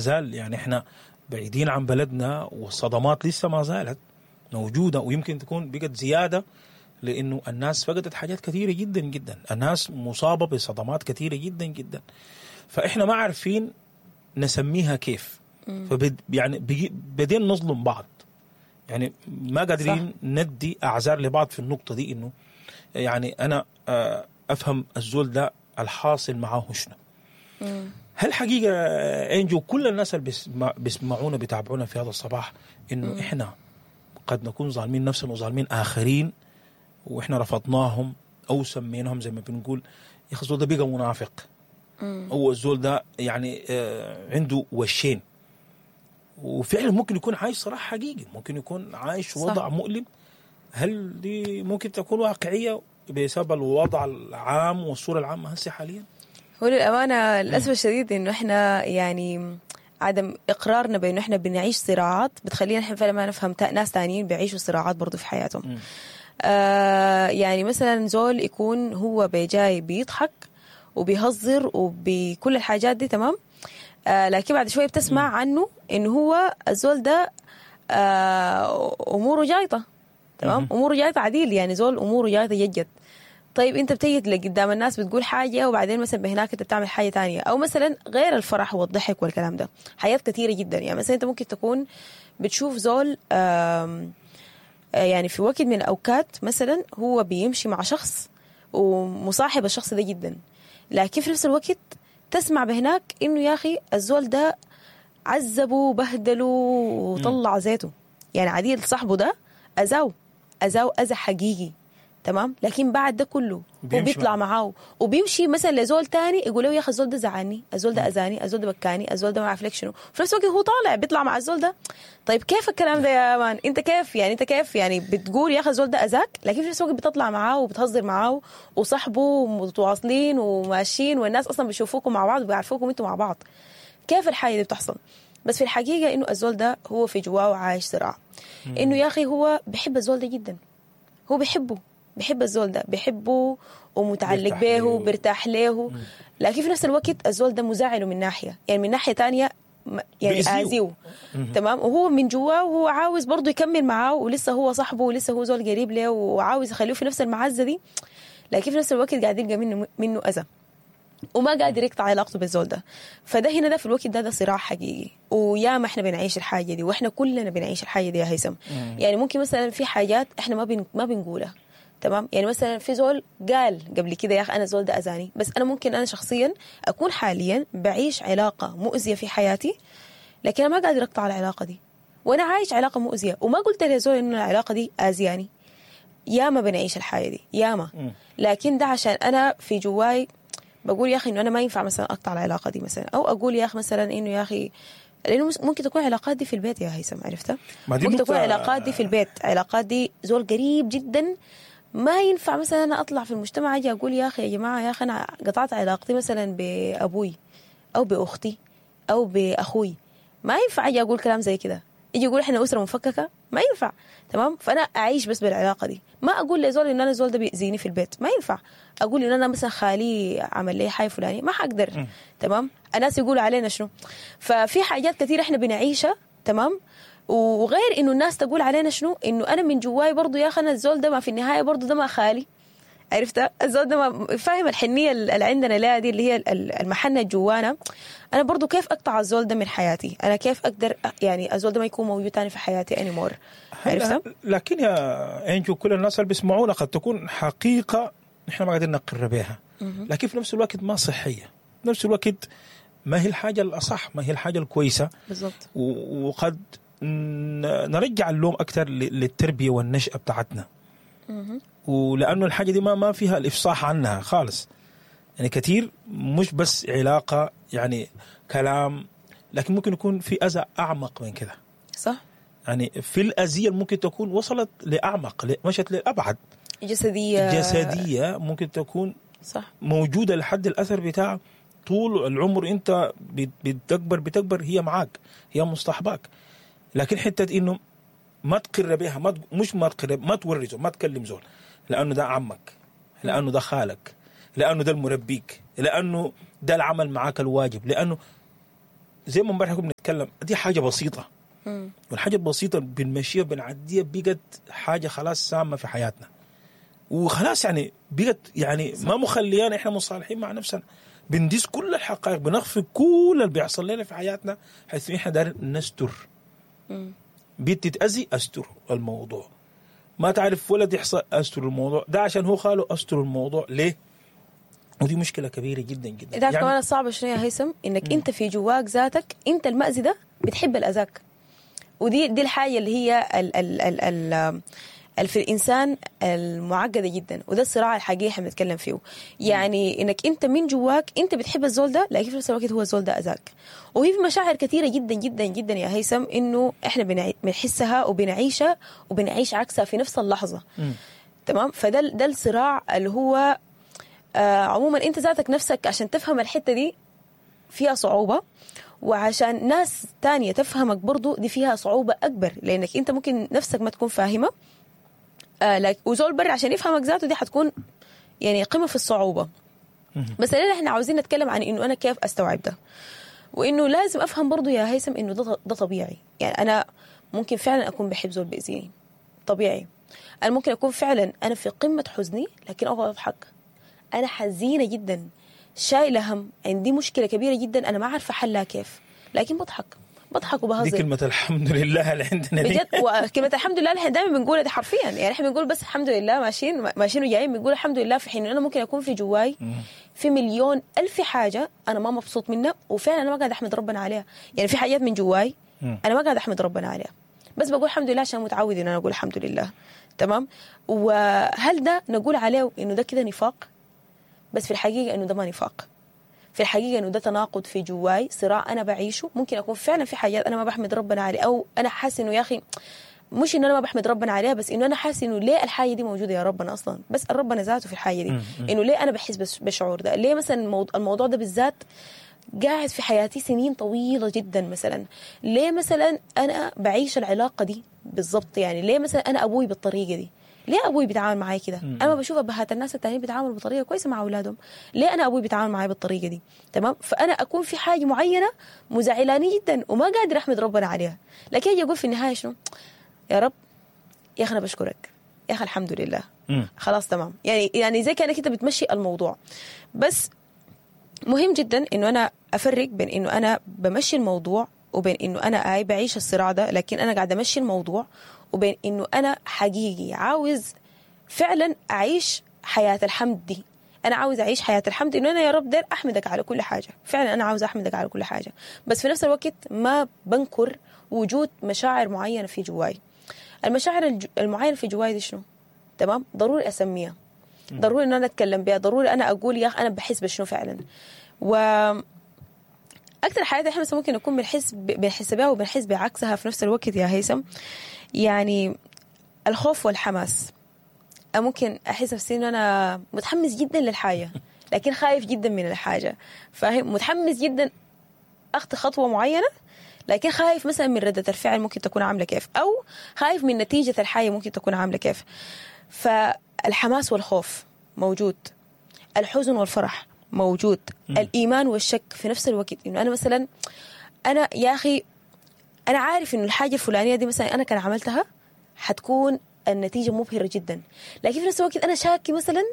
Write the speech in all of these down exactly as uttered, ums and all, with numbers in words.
زال يعني احنا بعيدين عن بلدنا، والصدمات لسه ما زالت موجودة، ويمكن تكون بقت زيادة لانه الناس فقدت حاجات كثيرة جدا جدا، الناس مصابه بصدمات كثيرة جدا جدا، فاحنا ما عارفين نسميها كيف. فبد يعني بدين نظلم بعض، يعني ما قادرين صح. ندي اعذار لبعض في النقطة دي، انه يعني انا افهم الزول ده الحاصل معاه شنو. هل حقيقة انجو كل الناس اللي بيسمعونا بيتابعونا في هذا الصباح انه مم. احنا قد نكون ظالمين نفسنا وظالمين اخرين، واحنا رفضناهم او سميناهم زي ما بنقول يا اخي الزول ده بقى منافق، او الزول ده يعني عنده وشين، وفعلا ممكن يكون عايش صراحة حقيقي، ممكن يكون عايش وضع صح. مؤلم. هل دي ممكن تكون واقعية بسبب الوضع العام والصورة العامة هسه حاليا؟ هو للأمانة للأسف الشديد إنه إحنا يعني عدم إقرارنا بإنه إحنا بنعيش صراعات بتخلينا إحنا فعلا ما نفهم ناس تانيين بيعيشوا صراعات برضو في حياتهم. آه يعني مثلا زول يكون هو بجاي بيضحك وبيهزر وبكل الحاجات دي تمام، آه لكن بعد شوية بتسمع م. عنه إنه هو الزول ده آه أموره جايطة تمام، أموره جايطة عديل، يعني زول أموره جايطة جد. طيب انت بتيجي لقدام الناس بتقول حاجة، وبعدين مثلا بهناك انت بتعمل حاجة تانية، او مثلا غير الفرح والضحك والكلام ده حاجات كثيرة جدا. يعني مثلا انت ممكن تكون بتشوف زول يعني في وقت من الاوقات مثلا هو بيمشي مع شخص ومصاحب الشخص ده جدا، لكن في نفس الوقت تسمع بهناك انه يا اخي الزول ده عذبه وبهدله وطلع زيته، يعني عديل صاحبه ده اذاه اذاه اذى حقيقي تمام، لكن بعد ده كله وبيطلع معاه وبيمشي مثلا لزول تاني يقول له يا اخي الزول ده زعلني، الزول ده اذاني، الزول ده بكاني، الزول ده ما عارف لك شنو، في نفس الوقت هو طالع بيطلع مع الزول ده. طيب كيف الكلام ده يا مان؟ انت كيف يعني انت كيف يعني بتقول يا اخي الزول ده اذاك، لكن في نفس الوقت بتطلع معاه وبتهزر معاه وصاحبه ومتواصلين وماشيين، والناس اصلا بيشوفوكم مع بعض وبيعرفوكم انتوا مع بعض. كيف الحاجة دي بتحصل؟ بس في الحقيقة انه الزول ده هو في جواه عايش صراع، انه يا اخي هو بيحب الزول ده جدا، هو بيحبه، بحب الزول ده، بحبه ومتعلق به وبرتاح له، لكن في نفس الوقت الزول ده مزعله من ناحية، يعني من ناحية تانية يعني آذيه تمام، وهو من جواه وهو عاوز برضه يكمل معاه، ولسه هو صاحبه ولسه هو زول قريب له وعاوز يخليه في نفس المعزة دي، لكن في نفس الوقت قاعد يلقى منه منه أذى وما قادر يقطع علاقته بالزول ده. فده هنا ده في الوقت ده ده صراع حقيقي، ويا ما احنا بنعيش الحاجة دي، واحنا كلنا بنعيش الحاجة دي يا هيثم. يعني ممكن مثلا في حاجات احنا ما بن ما بنقولها تمام، يعني مثلا في زول قال قبل كده يا اخي انا زول ده اذاني، بس انا ممكن انا شخصيا اكون حاليا بعيش علاقة مؤذية في حياتي، لكن انا ما قادر اقطع العلاقة دي، وانا عايش علاقة مؤذية وما قلت لزول انه العلاقة دي اذياني. ياما بنعيش الحاجة دي ياما، لكن ده عشان انا في جواي بقول يا اخي انه انا ما ينفع مثلا اقطع العلاقة دي مثلا، او اقول يا اخي مثلا انه يا اخي لانه ممكن تكون علاقات دي في البيت يا هيثم، عرفتها؟ ممكن تكون علاقات دي في البيت، علاقات دي زول قريب جدا، ما ينفع مثلا انا اطلع في المجتمع اجي اقول يا اخي يا جماعة يا اخي انا قطعت علاقتي مثلا بابوي او باختي او باخوي، ما ينفع اجي اقول كلام زي كده، يجي يقول احنا اسره مفككة، ما ينفع تمام. فانا اعيش بس بالعلاقة دي، ما اقول لزول ان انا زول ده بيأذيني في البيت، ما ينفع اقول ان انا مثلا خالي عمل لي حاجة فلانيه، ما حقدر تمام، الناس يقولوا علينا شنو. ففي حاجات كثيرة احنا بنعيشها تمام، وغير انه الناس تقول علينا شنو، انه انا من جواي برضو يا اخي انا الزول ده ما في النهاية برضو ده ما خالي، عرفت؟ الزول ده ما فاهم الحنيه اللي عندنا لا دي اللي هي المحنة جوانا، انا برضو كيف اقطع الزول ده من حياتي، انا كيف اقدر يعني الزول ده ما يكون موجود تاني في حياتي anymore، عرفت؟ لكن يا انجو كل الناس اللي بيسمعونا قد تكون حقيقة نحن ما قادرين نقر بها، لكن في نفس الوقت ما صحية، في نفس الوقت ما هي الحاجة الاصح، ما هي الحاجة الكويسة بالضبط، وقد نرجع اللوم أكثر للتربية والنشأة بتاعتنا، ولأنه الحاجة دي ما ما فيها الإفصاح عنها خالص، يعني كثير مش بس علاقة يعني كلام، لكن ممكن يكون في أذى أعمق من كده صح، يعني في الأذية ممكن تكون وصلت لأعمق، مشت لأبعد، جسدية جسدية ممكن تكون صح موجودة لحد الأثر بتاع طول العمر، أنت بتكبر بتكبر هي معاك، هي مصطحباك. لكن حتة انه ما تقر بها، ما مش ما تقر، ما تورثه، ما تكلم زول، لانه ده عمك، لانه ده خالك، لانه ده المربيك، لانه ده العمل معاك الواجب، لانه زي ما امبارح كنا بنتكلم، دي حاجة بسيطة. مم. والحاجة البسيطة بنمشيها بنعديها بقت حاجة خلاص سامة في حياتنا، وخلاص يعني بقت يعني ما مخليانا احنا مصالحين مع نفسنا، بندس كل الحقائق، بنخفي كل اللي بيحصل لنا في حياتنا، حيث احنا دايرين نستر. مم. بنت تتأذي استر الموضوع، ما تعرف ولد يحصل استر الموضوع ده، عشان هو خاله استر الموضوع ليه؟ ودي مشكلة كبيرة جدا جدا. انت عارف كمان الصعب شنو يا هيثم؟ انك انت في جواك ذاتك انت المأذي ده بتحب الاذاك، ودي دي الحاجة اللي هي ال ال ال ال ال في الانسان المعقدة جدا، وده الصراع الحقيقي احنا بنتكلم فيه. يعني انك انت من جواك انت بتحب الزول ده، لكن في نفس الوقت هو الزول ده اذاك. وهي في مشاعر كثيرة جدا جدا جدا يا هيثم انه احنا بنعي- بنحسها وبنعيشها وبنعيش عكسها في نفس اللحظة. مم. تمام؟ فده ده الصراع اللي هو آه عموما انت ذاتك نفسك عشان تفهم الحتة دي فيها صعوبة، وعشان ناس تانية تفهمك برضو دي فيها صعوبة أكبر، لأنك أنت ممكن نفسك ما تكون فاهمة، آه لك وزول برا عشان يفهمك ذاته دي حتكون يعني قمة في الصعوبة. بس الليلة احنا عاوزين نتكلم عن إنه أنا كيف أستوعب ده، وإنه لازم أفهم برضو يا هيثم إنه ده, ده طبيعي. يعني أنا ممكن فعلا أكون بحب زول بيأذيني، طبيعي. أنا ممكن أكون فعلا أنا في قمة حزني لكن أقعد أضحك. أنا حزينة جدا، شايلة هم، عندي مشكلة كبيرة جدا أنا ما عارفة حلها كيف، لكن بضحك بضحك وبهزر. دي كلمة الحمد لله اللي عندنا دي بجد. وكلمة الحمد لله اللي احنا دائما بنقولها دي حرفيا، يعني احنا بنقول بس الحمد لله، ماشيين ماشيين وجايين بنقول الحمد لله، في حين انا ممكن اكون في جواي في مليون ألف حاجة أنا ما مبسوط منها، وفعلا أنا ما قاعد أحمد ربنا عليها. يعني في حاجات من جواي أنا ما قاعد أحمد ربنا عليها، بس بقول الحمد لله عشان متعود إن أنا أقول الحمد لله. تمام؟ وهل ده نقول عليه إنه ده كده نفاق؟ بس في الحقيقة إنه ده ما نفاق. في الحقيقة إنه ده تناقض في جواي، صراع أنا بعيشه. ممكن أكون فعلا في حاجات أنا ما بحمد ربنا عليها، أو أنا حاسس إنه يا أخي مش إنه أنا ما بحمد ربنا عليها، بس إنه أنا حاسس إنه ليه الحاجة دي موجودة يا ربنا أصلا، بسأل ربنا ذاته في الحاجة دي إنه ليه أنا بحس بالشعور ده، ليه مثلا الموضوع ده بالذات قاعد في حياتي سنين طويلة جدا مثلا، ليه مثلا أنا بعيش العلاقة دي بالضبط، يعني ليه مثلا أنا أبوي بالطريقة دي، ليه أبوي بيتعامل معي كده؟ أنا ما بشوف أبهات الناس التانيين بيتعاملوا بطريقة كويسة مع أولادهم، ليه أنا أبوي بيتعامل معي بالطريقة دي؟ تمام؟ فأنا أكون في حاجة معينة مزعلاني جدا وما قادر أحمد ربنا عليها، لكن أجي أقول في النهاية شنو؟ يا رب يا أخي أنا بشكرك، يا أخي الحمد لله. مم. خلاص تمام. يعني يعني زي كأنك أنت بتمشي الموضوع. بس مهم جدا إنه أنا أفرق بين إنه أنا بمشي الموضوع وبين إنه أنا آي بعيش الصراع ده، لكن أنا قاعدة أمشي الموضوع، وبين إنه أنا حقيقي عاوز فعلا أعيش حياة الحمد دي. أنا عاوز أعيش حياة الحمد إنه أنا يا رب دير أحمدك على كل حاجة، فعلا أنا عاوز أحمدك على كل حاجة، بس في نفس الوقت ما بنكر وجود مشاعر معينة في جواي. المشاعر المعينة في جواي دي شنو؟ تمام؟ ضروري أسميها، ضروري إن أنا أتكلم بها، ضروري أنا أقول يا أخي أنا بحس بشنو فعلا. و أكثر حياتي إحنا ممكن نكون بنحس بنحس بها وبنحس بعكسها في نفس الوقت يا هيثم. يعني الخوف والحماس، ممكن أحس نفسي إنه أنا متحمس جدا للحاجة لكن خايف جدا من الحاجة، فاهم؟ متحمس جدا أخطي خطوة معينة لكن خايف مثلا من ردة الفعل ممكن تكون عاملة كيف، أو خايف من نتيجة الحاجة ممكن تكون عاملة كيف. فالحماس والخوف موجود، الحزن والفرح موجود، م. الإيمان والشك في نفس الوقت. إنه أنا مثلا أنا يا أخي أنا عارف إنه الحاجة الفلانية دي مثلا أنا كان عملتها حتكون النتيجة مبهرة جدا، لكن في نفس الوقت أنا شاكي مثلا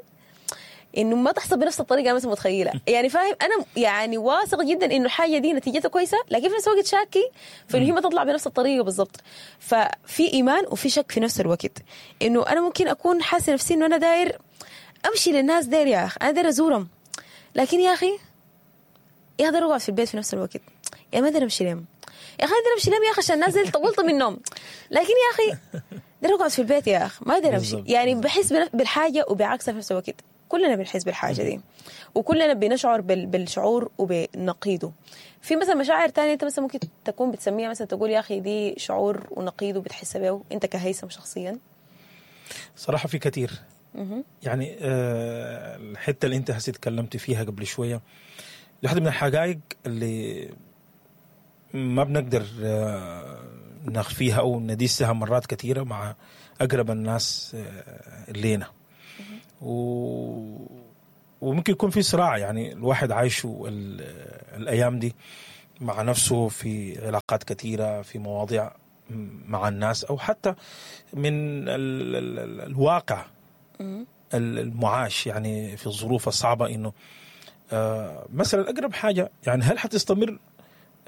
إنه ما تحصل بنفس الطريقة أنا مثلا متخيلة. يعني فاهم؟ أنا يعني واثق جدا إنه الحاجة دي نتيجتها كويسة، لكن في نفس الوقت شاكي في إنه هي ما تطلع بنفس الطريقة بالضبط. ففي إيمان وفي شك في نفس الوقت. إنه أنا ممكن أكون حاسة نفسي إنه أنا داير أمشي للناس، داير يا أخي أنا داير أزورهم، لكن يا أخي يا أخي أقعد في البيت في نفس الوقت، يا ما أقدر أمشي لهم، يا أخي أقدر أمشي لهم يا أخي عشان الناس اللي طولت منهم، لكن يا أخي أقدر أقعد في البيت يا أخي ما أقدر أمشي. يعني بحس بالحاجة وبعكسها في نفس الوقت. كلنا بنحس بالحاجة دي وكلنا بنشعر بالشعور وبنقيده. في مثلا مشاعر تانية أنت مثلا ممكن تكون بتسميها مثلا تقول يا أخي دي شعور ونقيده بتحس به أنت كهيثم شخصيا؟ صراحة في كثير. يعني آه الحتة اللي أنت هسي تكلمت فيها قبل شوية، واحدة من الحقائق اللي ما بنقدر آه نخفيها أو ندسها مرات كثيرة مع أقرب الناس آه لينا، و... وممكن يكون في صراع يعني الواحد عايشه الأيام دي مع نفسه في علاقات كثيرة، في مواضيع مع الناس، أو حتى من ال ال ال الواقع المعاش يعني في الظروف الصعبة. إنه آه مثلا أقرب حاجة يعني هل حتستمر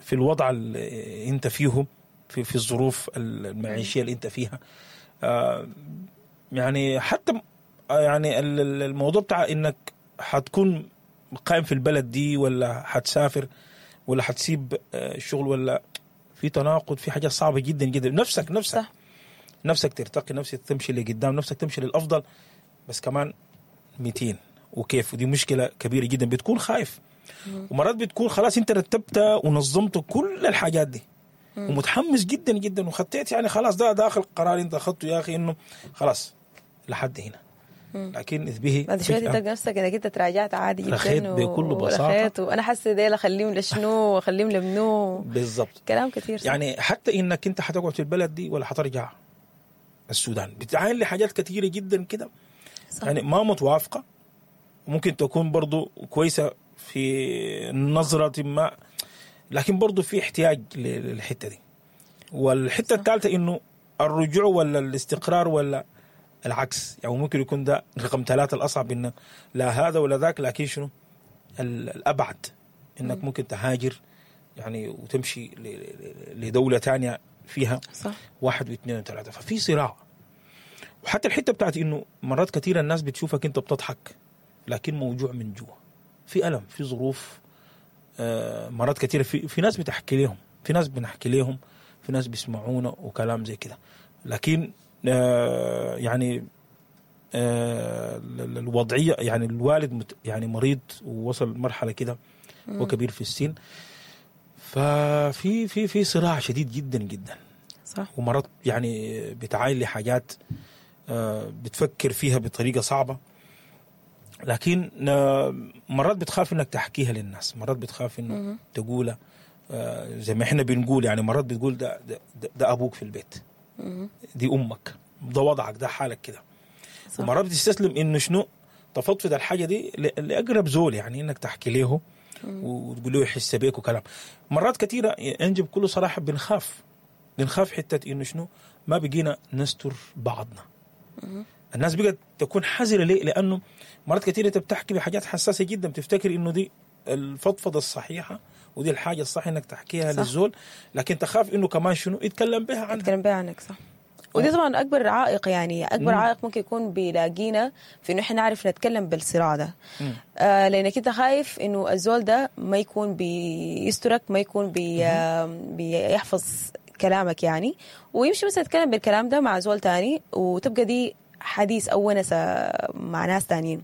في الوضع اللي أنت فيه في في الظروف المعيشية اللي أنت فيها؟ آه يعني حتى يعني الموضوع بتاع إنك حتكون قائم في البلد دي ولا حتسافر ولا حتسيب الشغل، ولا في تناقض، في حاجة صعبة جدا جدا. نفسك نفسك صح. نفسك ترتقي، نفسك تمشي لقدام، نفسك تمشي للأفضل، بس كمان ميتين وكيف، ودي مشكلة كبيرة جدا. بتكون خايف، ومرات بتكون خلاص انت رتبت ونظمت كل الحاجات دي مم. ومتحمس جدا جدا وخطيت يعني خلاص ده داخل قرار انت اخذته يا اخي انه خلاص لحد هنا، لكن اذ به بعد شوية تلقى نفسك انك انت تراجعت عادي جدا، رخيت بكل بساطة، وانا حاسه ديل اخليهم لشنو واخليهم لمنو بالضبط، كلام كثير صح. يعني حتى انك انت حتقعد في البلد دي ولا حترجع السودان، بتعاين لحاجات كثيرة جدا كده يعني ما متوافقة، ممكن تكون برضو كويسة في نظره ما، لكن برضو في احتياج للحتة دي. والحتة الثالثة انه الرجوع ولا الاستقرار ولا العكس، يعني ممكن يكون ده رقم ثلاثة الأصعب، إنه لا هذا ولا ذاك، لكن شنو الأبعد إنك م. ممكن تهاجر يعني وتمشي لدولة تانية فيها صح. واحد واثنين وثلاثة. ففي صراع. وحتى الحتة بتاعت إنه مرات كثيرة الناس بتشوفك أنت بتضحك لكن موجوع من جوا، في ألم، في ظروف، آه مرات كثيرة في, في ناس بتحكي لهم، في ناس بنحكي لهم، في ناس بيسمعونا وكلام زي كده، لكن آه يعني آه الوضعية يعني الوالد مت يعني مريض ووصل مرحلة كده وكبير في السن، ففي في في صراع شديد جدا جدا صح. ومرات يعني بتعاين لحاجات آه بتفكر فيها بطريقة صعبة، لكن آه مرات بتخاف انك تحكيها للناس، مرات بتخاف انه تقولها آه زي ما احنا بنقول، يعني مرات بتقول ده ده, ده ابوك في البيت، دي امك، ده وضعك، ده حالك كده. ومرات بتستسلم انه شنو تفضفض الحاجة دي لاقرب زول، يعني انك تحكي له وتقول له يحس بيك وكلام. مرات كثيرة انجب بكل صراحة بنخاف بنخاف حتة انه شنو ما بقينا نستر بعضنا. الناس بقت تكون حذره ليه؟ لانه مرات كثيرة انت بتحكي بحاجات حساسة جدا، بتفتكر انه دي الفضفضة الصحيحة ودي الحاجة الصح انك تحكيها صح. للزول، لكن تخاف انه كمان شنو يتكلم بها عنك، يتكلم بها عنك صح. ودي طبعا اكبر عائق، يعني اكبر مم. عائق ممكن يكون بيلاقينا في انه احنا نعرف نتكلم بالصراع ده، آه لانك انت خايف انه الزول ده ما يكون بيسترك، ما يكون بي آه بيحفظ كلامك يعني، ويمشي مثلا يتكلم بالكلام ده مع زول تاني، وتبقى دي حديث او ونسه مع ناس تانيين.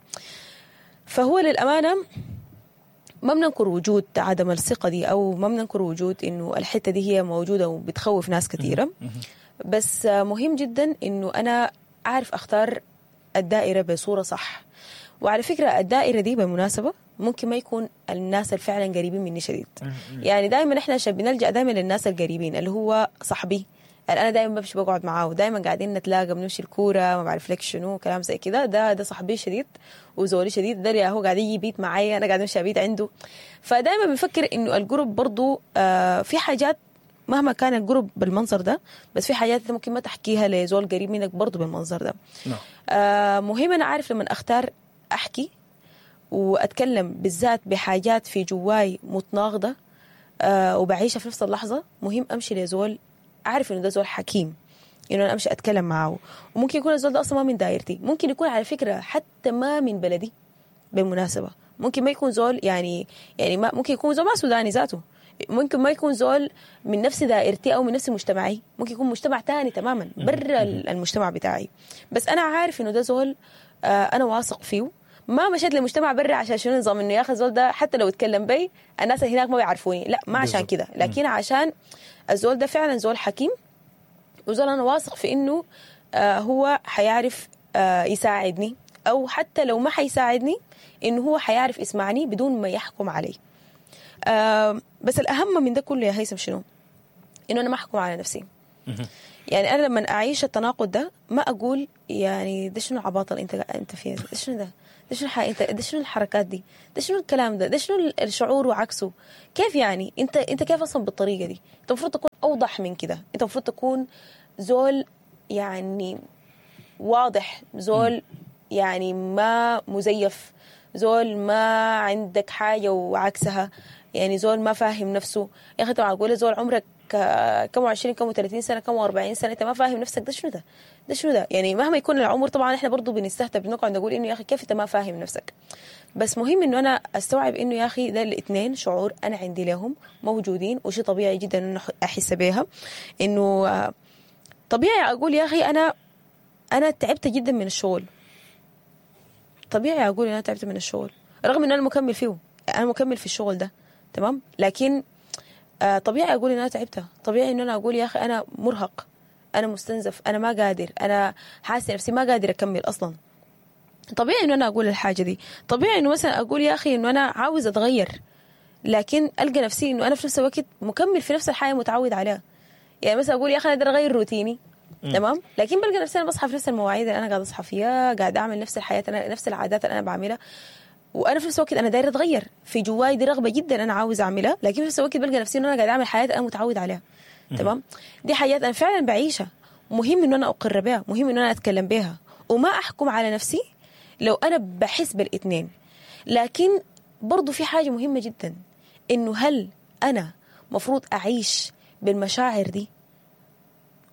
فهو للامانة ما بننكر وجود عدم الثقة دي، أو ما بننكر وجود إنه الحتة دي هي موجودة وبتخوف ناس كثيرة، بس مهم جدا إنه أنا أعرف أختار الدائرة بصورة صح. وعلى فكرة الدائرة دي بالمناسبة ممكن ما يكون الناس اللي فعلا قريبين مني شديد، يعني دائما إحنا عشان بنلجأ دائما للناس القريبين اللي هو صاحبي اللي أنا دائما بمشي بقعد معاه ودائما قاعدين نتلاقى بنمشي الكورة ما بعرف لك شنو كلام زي كده، ده ده صاحبي شديد وزولي شديد، ده اللي هو قاعد يجي بيت معايا، أنا قاعد أمشي بيت عنده. فدائما بنفكر إنه القرب برضو آه في حاجات مهما كان القرب بالمنظر ده، بس في حاجات ممكن ما تحكيها لزول قريب منك برضو بالمنظر ده. آه مهم أنا أعرف لما أختار أحكي وأتكلم بالذات بحاجات في جواي متناقضة آه وبعيشها في نفس اللحظة، مهم أمشي لزول أعرف إنه ده زول حكيم، إنه أنا أمشي أتكلم معه. وممكن يكون الزول ده أصلا ما من دايرتي، ممكن يكون على فكرة حتى ما من بلدي بالمناسبة، ممكن ما يكون زول يعني يعني ما ممكن يكون زول ما سوداني ذاته، ممكن ما يكون زول من نفس دائرتي أو من نفس مجتمعي، ممكن يكون مجتمع تاني تماما برا المجتمع بتاعي، بس أنا عارف إنه ده زول آه أنا واثق فيه. ما مشيت لمجتمع برا عشان شنو نظام إنه يا أخي الزول ده حتى لو اتكلم بي الناس هناك ما بيعرفوني، لا ما عشان كده، لكن عشان الزول ده فعلا زول حكيم وزول أنا واثق في إنه آه هو حيعرف آه يساعدني، أو حتى لو ما حيساعدني إنه هو حيعرف يسمعني بدون ما يحكم علي. آه بس الأهم من ده كله يا هيثم شنو؟ إنه أنا ما أحكم على نفسي. يعني أنا لما أعيش التناقض ده ما أقول يعني ده شنو العباطة اللي أنت أنت فيها، ده شنو ده؟ ده شنو الح... انت ده شنو الحركات دي؟ ده شنو الكلام ده؟ ده شنو الشعور وعكسه؟ كيف يعني؟ انت انت كيف اصلا بالطريقة دي؟ انت المفروض تكون اوضح من كده، انت المفروض تكون زول يعني واضح، زول يعني ما مزيف، زول ما عندك حاجة وعكسها، يعني زول ما فاهم نفسه. يا اخي انت معقولة زول عمرك كم وعشرين كم وثلاثين سنة كم وأربعين سنة انت ما فاهم نفسك؟ ده شنو ده؟ ده شنو ده؟ يعني مهما يكون العمر طبعا احنا برضو بنستهتر، بنقعد نقول انه يا اخي كيف انت ما فاهم نفسك. بس مهم انه انا استوعب انه يا اخي ده الاثنين شعور انا عندي لهم موجودين، وشيء طبيعي جدا انه احس بيها. انه طبيعي اقول يا اخي انا انا تعبت جدا من الشغل، طبيعي اقول انا تعبت من الشغل رغم ان انا مكمل فيه، انا مكمل في الشغل ده تمام، لكن آه طبيعي اقول ان انا تعبت، طبيعي ان انا اقول يا اخي انا مرهق، انا مستنزف، انا ما قادر، انا حاسه نفسي ما قادر اكمل اصلا. طبيعي انه انا اقول الحاجة دي، طبيعي انه مثلا اقول يا اخي انه انا عاوز اتغير، لكن القى نفسي انه انا في نفس الوقت مكمل في نفس الحياة متعود عليها. يعني مثلا اقول يا اخي انا اقدر اغير روتيني تمام، لكن بلقى نفسي انا بصحى في نفس المواعيد اللي انا قاعدة اصحى فيها، قاعدة اعمل نفس الحياة، انا نفس العادات اللي انا بعملها، وانا في نفس الوقت انا دايرة اتغير، في جواي دي رغبة جدا انا عاوز اعملها، لكن في نفس الوقت بلقى نفسي انه انا قاعدة اعمل حياة انا متعود عليها تمام. دي حياة انا فعلا بعيشها، مهم انه انا اقر بها، مهم انه انا اتكلم بها وما احكم على نفسي لو انا بحس بالاثنين. لكن برضو في حاجة مهمة جدا، انه هل انا مفروض اعيش بالمشاعر دي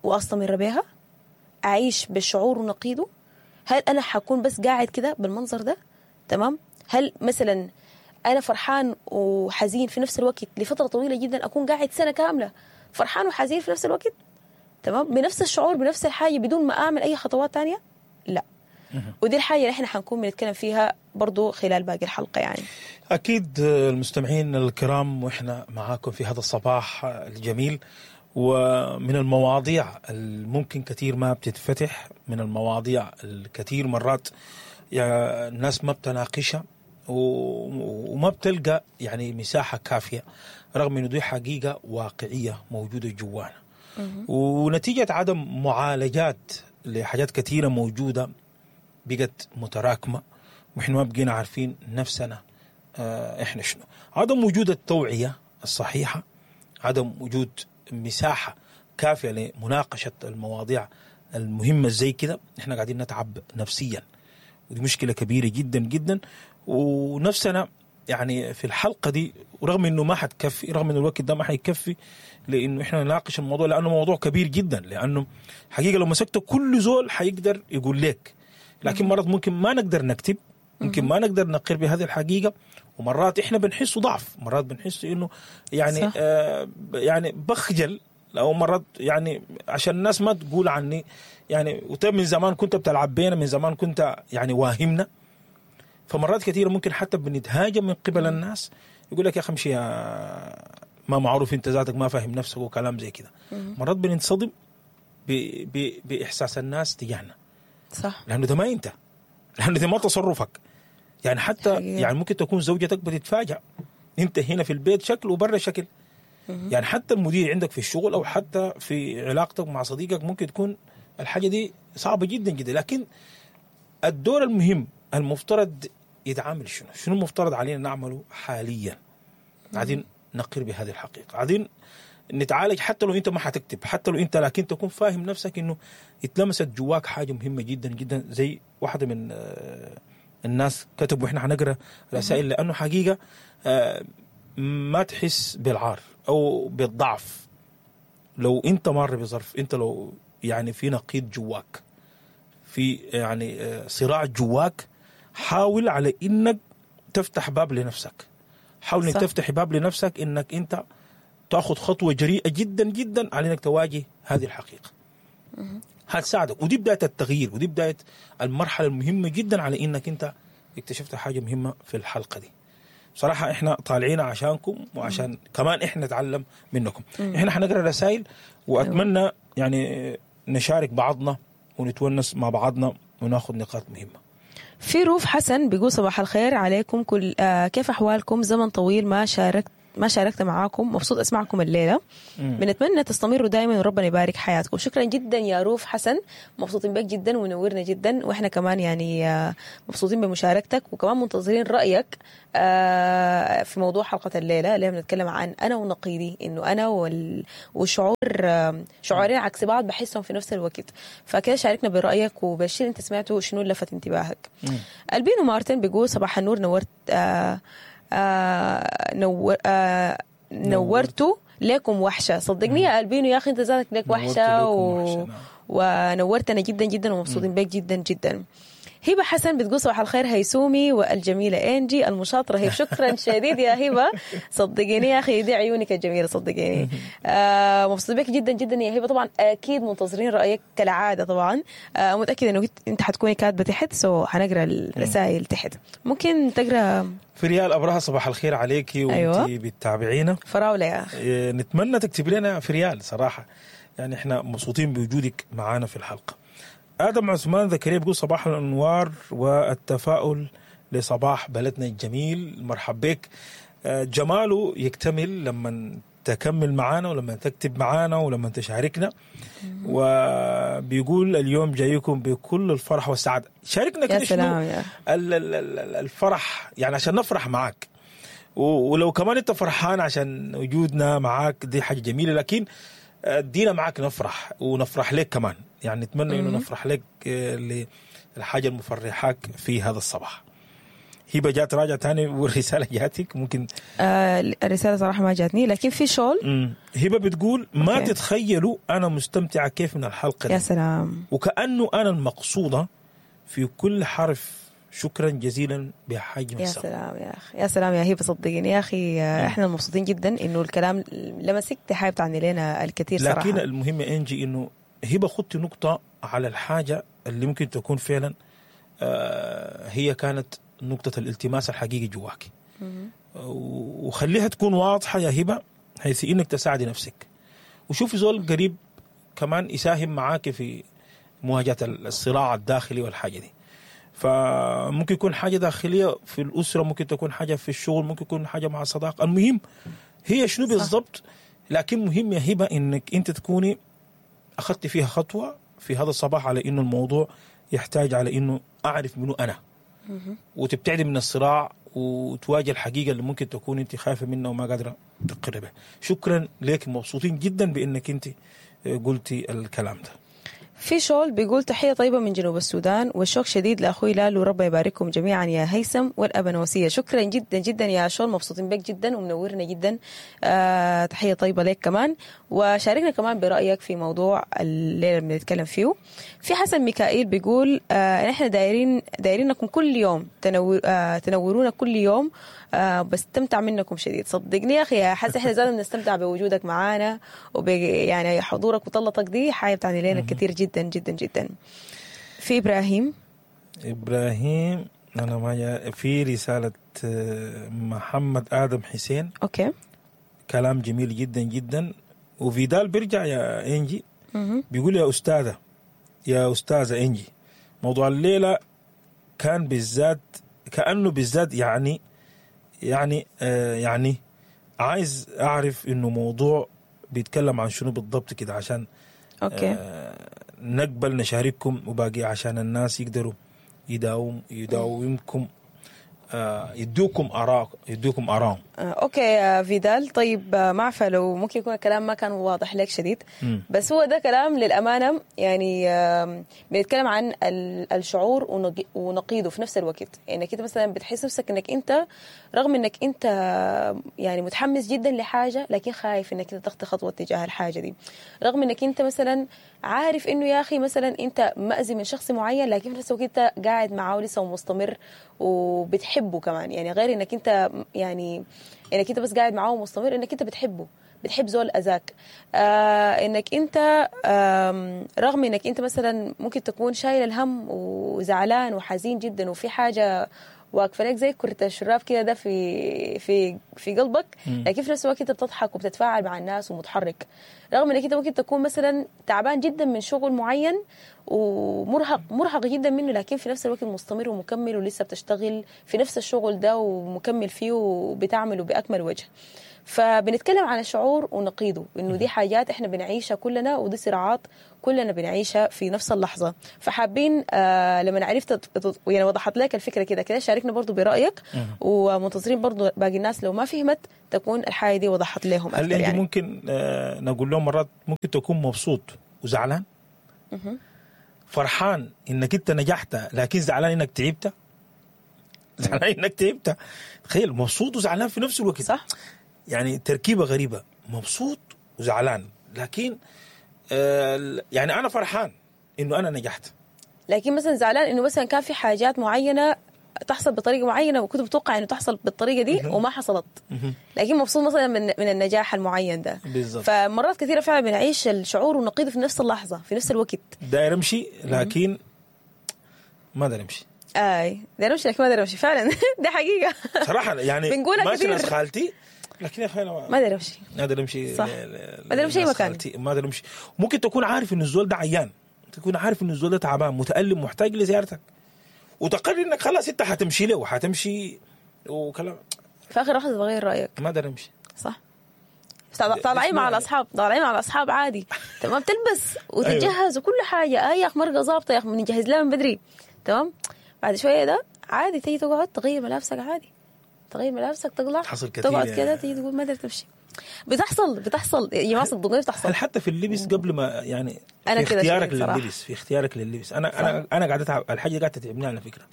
واستمر بها؟ اعيش بالشعور ونقيضه؟ هل انا حكون بس قاعد كده بالمنظر ده تمام؟ هل مثلا انا فرحان وحزين في نفس الوقت لفترة طويلة جدا، اكون قاعد سنة كاملة فرحان وحزين في نفس الوقت تمام، بنفس الشعور بنفس الحاجة بدون ما اعمل اي خطوات تانية؟ لا. ودي الحاجة اللي احنا حنكون بنتكلم فيها برضو خلال باقي الحلقة. يعني اكيد المستمعين الكرام، واحنا معاكم في هذا الصباح الجميل، ومن المواضيع الممكن كثير ما بتتفتح، من المواضيع الكثير مرات يعني الناس ما بتناقشها وما بتلقى يعني مساحة كافية، رغم انه دي حقيقة واقعية موجودة جوانا، ونتيجة عدم معالجات لحاجات كثيرة موجودة بقت متراكمة، واحنا ما بقينا عارفين نفسنا احنا شنو. عدم وجود التوعية الصحيحة، عدم وجود مساحة كافية لمناقشة المواضيع المهمة زي كده، احنا قاعدين نتعب نفسيا، ودي مشكلة كبيرة جدا جدا. ونفسنا يعني في الحلقة دي، ورغم انه ما حتكفي، رغم انه الوقت ده ما حيكفي لانه احنا نناقش الموضوع، لانه موضوع كبير جدا، لانه حقيقة لو مسكته كل زول حيقدر يقول لك، لكن مرات ممكن ما نقدر نكتب، ممكن ما نقدر نقر بهذه الحقيقة، ومرات احنا بنحس ضعف، مرات بنحس انه يعني آه يعني بخجل، او مرات يعني عشان الناس ما تقول عني يعني، وطيب من زمان كنت بتلعب بينا، من زمان كنت يعني واهمنا. فمرات كثيرة ممكن حتى بنتهاجم من قبل الناس، يقول لك يا اخي امشي ما معروف انت ذاتك، ما فاهم نفسك وكلام زي كده. مرات بننصدم باحساس الناس تجاهنا، صح، لانه ده ما انت، لانه ده ما تصرفك. يعني حتى حقيقة. يعني ممكن تكون زوجتك بتتفاجأ، انت هنا في البيت شكل وبرا شكل. يعني حتى المدير عندك في الشغل او حتى في علاقتك مع صديقك ممكن تكون الحاجة دي صعبة جدا جدا. لكن الدور المهم المفترض يتعامل شنو؟ شنو المفترض علينا نعمله حاليا؟ قاعدين نقر بهذه الحقيقة، قاعدين نتعالج، حتى لو انت ما حتكتب، حتى لو انت، لكن تكون فاهم نفسك انه اتلمست جواك حاجة مهمة جدا جدا. زي واحدة من الناس كتب، واحنا حنقرا رسائل، لانه حقيقة ما تحس بالعار او بالضعف لو انت مار بظرف، انت لو يعني في نقيض جواك، في يعني صراع جواك، حاول على انك تفتح باب لنفسك، حاول انك تفتح باب لنفسك انك انت تاخذ خطوة جريئة جدا جدا على انك تواجه هذه الحقيقة. هتساعدك، ودي بداية التغيير، ودي بداية المرحلة المهمة جدا على انك انت اكتشفت حاجة مهمة في الحلقة دي. بصراحة احنا طالعين عشانكم، وعشان كمان احنا نتعلم منكم. احنا حنقرا رسائل، واتمنى يعني نشارك بعضنا ونتونس مع بعضنا وناخذ نقاط مهمة. في روف حسن بيقول صباح الخير عليكم كل آه كيف احوالكم؟ زمن طويل ما شاركت ما شاركت معاكم، مبسوط اسمعكم الليلة. بنتمنى تستمروا دائما وربنا يبارك حياتكم. شكرا جدا يا روف حسن، مبسوطين بك جدا ونورنا جدا، واحنا كمان يعني آه، مبسوطين بمشاركتك، وكمان منتظرين رايك آه، في موضوع حلقة الليلة اللي بنتكلم عن انا ونقيضي، انه انا وال... وشعور آه، شعورين عكس بعض بحسهم في نفس الوقت. فكده شاركنا برايك وبالشيء اللي انت سمعته شنو اللي لفت انتباهك. البينو مارتن بيقول صباح النور، نورت آه آه نور آه نورتوا لكم وحشة. صدقني يا البينو يا اخي انت ذاتك لك نورتوا وحشة لكم و... وحشة، نعم. ونورتنا جدا جدا ومبسوطين بك جدا جدا. هبه حسن بتقول صباح الخير هيسومي والجميلة انجي المشاطره هي. شكرا شديد يا هبه، صدقيني يا اخي دي عيونك الجميلة صدقيني. آه مبسوط بك جدا جدا يا هبه. طبعا اكيد منتظرين رايك كالعادة طبعا. آه متاكدة انه انت حتكوني كاتبه تحت، so حنقرا الرسائل تحت. ممكن تقرا في ريال ابرهة صباح الخير عليكي وانت أيوة. بتتابعينا. فراوله يا اخي. إيه، نتمنى تكتب لنا في ريال صراحة، يعني احنا مبسوطين بوجودك معانا في الحلقة. ادم عثمان زكريا بيقول صباح الانوار والتفاؤل لصباح بلدنا الجميل، مرحب بك. آه، جماله يكتمل لما تكمل معانا ولما تكتب معانا ولما تشاركنا. وبيقول اليوم جايكم بكل الفرح والسعادة. شاركنا يا كده شنو سلام يا ال- ال- ال- الفرح، يعني عشان نفرح معاك، و- ولو كمان انت فرحان عشان وجودنا معاك دي حاجة جميلة، لكن ادينا معاك نفرح ونفرح لك كمان. يعني نتمنى انه نفرح لك آه، للحاجة المفرحاك في هذا الصباح. هبه جات راجع تاني والرسالة جاتك ممكن. آه الرسالة صراحة ما جاتني، لكن في شول. مم. هبه بتقول ما okay. تتخيلوا انا مستمتعه كيف من الحلقة يا دي، سلام وكانه انا المقصودة في كل حرف. شكرا جزيلا بحجم يا السما. سلام يا اخي، يا سلام يا هبه، صدقيني يا اخي آه، احنا مبسوطين جدا انه الكلام لمسك، دي حاجة بتعني لنا الكثير صراحة. لكن المهم يا انجي انه هبه خدت نقطة على الحاجة اللي ممكن تكون فعلا آه، هي كانت نقطة الالتماس الحقيقي جواك، وخليها تكون واضحة يا هبه، حيث انك تساعدي نفسك، وشوفي زول قريب كمان يساهم معاك في مواجهة الصراع الداخلي والحاجة دي. فممكن يكون حاجة داخلية في الاسرة، ممكن تكون حاجة في الشغل، ممكن يكون حاجة مع الصداقة. المهم هي شنو بالضبط، لكن مهم يا هبه انك انت تكوني اخذت فيها خطوة في هذا الصباح على انه الموضوع يحتاج على انه اعرف منو انا، وتبتعدي من الصراع وتواجه الحقيقة اللي ممكن تكون انت خايفة منها وما قادرة تقربها. بها. شكرا لك، مبسوطين جدا بانك انت قلتي الكلام ده. في شول بيقول تحية طيبة من جنوب السودان، والشوق شديد لأخوي لالو، ربنا يبارككم جميعا يا هيثم والأبنوسية. شكرا جدا جدا يا شول، مبسوطين بك جدا ومنورنا جدا. آه تحية طيبة لك كمان، وشاركنا كمان برأيك في موضوع الليلة اللي بنتكلم فيه. في حسن ميكائيل بيقول آه نحن دايرين دايرينكم كل يوم، تنور آه تنورونا كل يوم، آه بستمتع منكم شديد. صدقني يا أخي يا حسن احنا زادنا بنستمتع بوجودك معانا وب يعني حضورك وطلتك دي حاجة بتعني لنا كثير جدا جدا جدا. في إبراهيم ابراهيم انا ما جا- في رسالة آه، محمد ادم حسين، okay كلام جميل جدا جدا. وفيدال بيرجع يا انجي بيقول يا استاذه يا استاذه انجي، موضوع الليلة كان بالذات كانه بالذات يعني يعني آه يعني عايز اعرف انه موضوع بيتكلم عن شنو بالضبط كده، عشان okay آه نقبل نشارككم وباقي عشان الناس يقدروا يداوم يداومكم آه يدوكم اراء يدوكم ارائهم. آه، okay يا فيدال. طيب آه، ما عارفه لو ممكن يكون الكلام ما كان واضح لك شديد، مم. بس هو ده كلام للامانة يعني آم، بنتكلم عن ال- الشعور ونق- ونقيضه في نفس الوقت. يعني انك انت مثلا بتحس نفسك انك انت رغم انك انت يعني متحمس جدا لحاجة، لكن خايف انك انت تخطي خطوة تجاه الحاجة دي. رغم انك انت مثلا عارف انه يا اخي مثلا انت مأذي من شخص معين، لكن في نفس الوقت انت قاعد معاه لسه ومستمر وبتحبه كمان. يعني غير انك انت يعني انك انت بس قاعد معاه ومستمر، انك انت بتحبه، بتحب زول اذاك. آه انك انت آم، رغم انك انت مثلا ممكن تكون شايل الهم وزعلان وحزين جدا، وفي حاجة واقفة لك زي كرة الشراب كده ده في في في قلبك، لكن في نفس الوقت انت بتضحك وبتتفاعل مع الناس ومتحرك. رغم انك انت ممكن تكون مثلا تعبان جدا من شغل معين ومرهق مرهق جدا منه، لكن في نفس الوقت مستمر ومكمل ولسه بتشتغل في نفس الشغل ده ومكمل فيه وبتعمله باكمل وجه. فبنتكلم عن الشعور ونقيضه، انه دي حاجات احنا بنعيشها كلنا ودي صراعات كلنا بنعيشها في نفس اللحظة. فحابين آه لما عرفت يعني وضحت لك الفكرة كده كده شاركنا برضو برايك، ومنتظرين برضو باقي الناس لو ما فهمت تكون الحاجة دي وضحت لهم اكثر. هل يعني ممكن آه نقول لهم مرات ممكن تكون مبسوط وزعلان، فرحان انك انت نجحت لكن زعلان انك تعبت، زعلان انك تعبت. تخيل مبسوط وزعلان في نفس الوقت، صح؟ يعني تركيبه غريبة، مبسوط وزعلان، لكن آه يعني انا فرحان انه انا نجحت، لكن مثلا زعلان انه مثلا كان في حاجات معينة تحصل بطريقة معينة وكنت متوقع انه تحصل بالطريقة دي وما حصلت، لكن مبسوط مثلا من من النجاح المعين ده. بالزبط. فمرات كثيرة فعلا بنعيش الشعور ونقيضه في نفس اللحظة في نفس الوقت. داير امشي لكن ما داير امشي. اي داير امشي لكن ما داير امشي فعلا. ده حقيقة صراحة يعني بنقولها كثير. ماشي ناس خالتي لكن يا اخي انا ما داير امشي، ما داير امشي، صح، ما داير امشي اي مكان، ما داير امشي. ممكن تكون عارف ان الزول ده عيان، تكون عارف ان الزول ده تعبان متألم محتاج لزيارتك، وتقرر انك خلاص انت حتمشي له وحتمشي وكلام، في اخر لحظة تغير رايك، ما داير امشي. صح. طالعين مع الاصحاب، طالعين مع الاصحاب عادي تمام، تلبس وتتجهز وكل حاجة، اي يا اخي مرقه ظابطة يا اخي بنجهز لها من بدري تمام. بعد شوية ده عادي تيجي تقعد تغير ملابسك عادي، تغير ملابسك تطلع تقعد كده تيجي تقول ما قدرت تمشي. بتحصل بتحصل يا جماعة صدقوني بتحصل. هل حتى في اللبس قبل ما يعني أنا في اختيارك لللبس، في اختيارك لللبس انا صح. انا انا قاعدة اتعب، الحاجة قاعدة تتعبني على فكرة.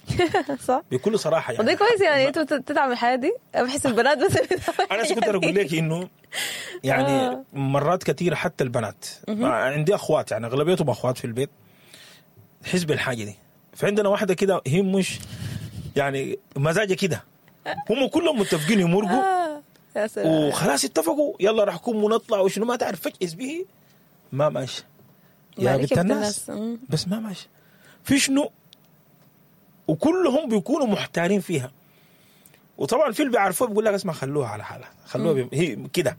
صح، بكل صراحة يعني. وده كويس يعني انتوا بتتعب الحياة دي، بحس البنات بس. انا كنت اقول لك انه يعني مرات كثيرة حتى البنات، عندي اخوات يعني اغلبيتهم اخوات في البيت، تحس بالحاجة دي. فعندنا واحدة كده هي مش يعني مزاجه كده، هم كلهم متفقين يمرقوا وخلاص اتفقوا يلا راح نكون ونطلع وشنو ما تعرف، فجأة به ما ماشي يا بنت الناس، بس ما ماشي في شنو، وكلهم بيكونوا محتارين فيها. وطبعا في اللي بيعرفوه بيقول لك اسمع خلوها على حالها، خلوها هي كده.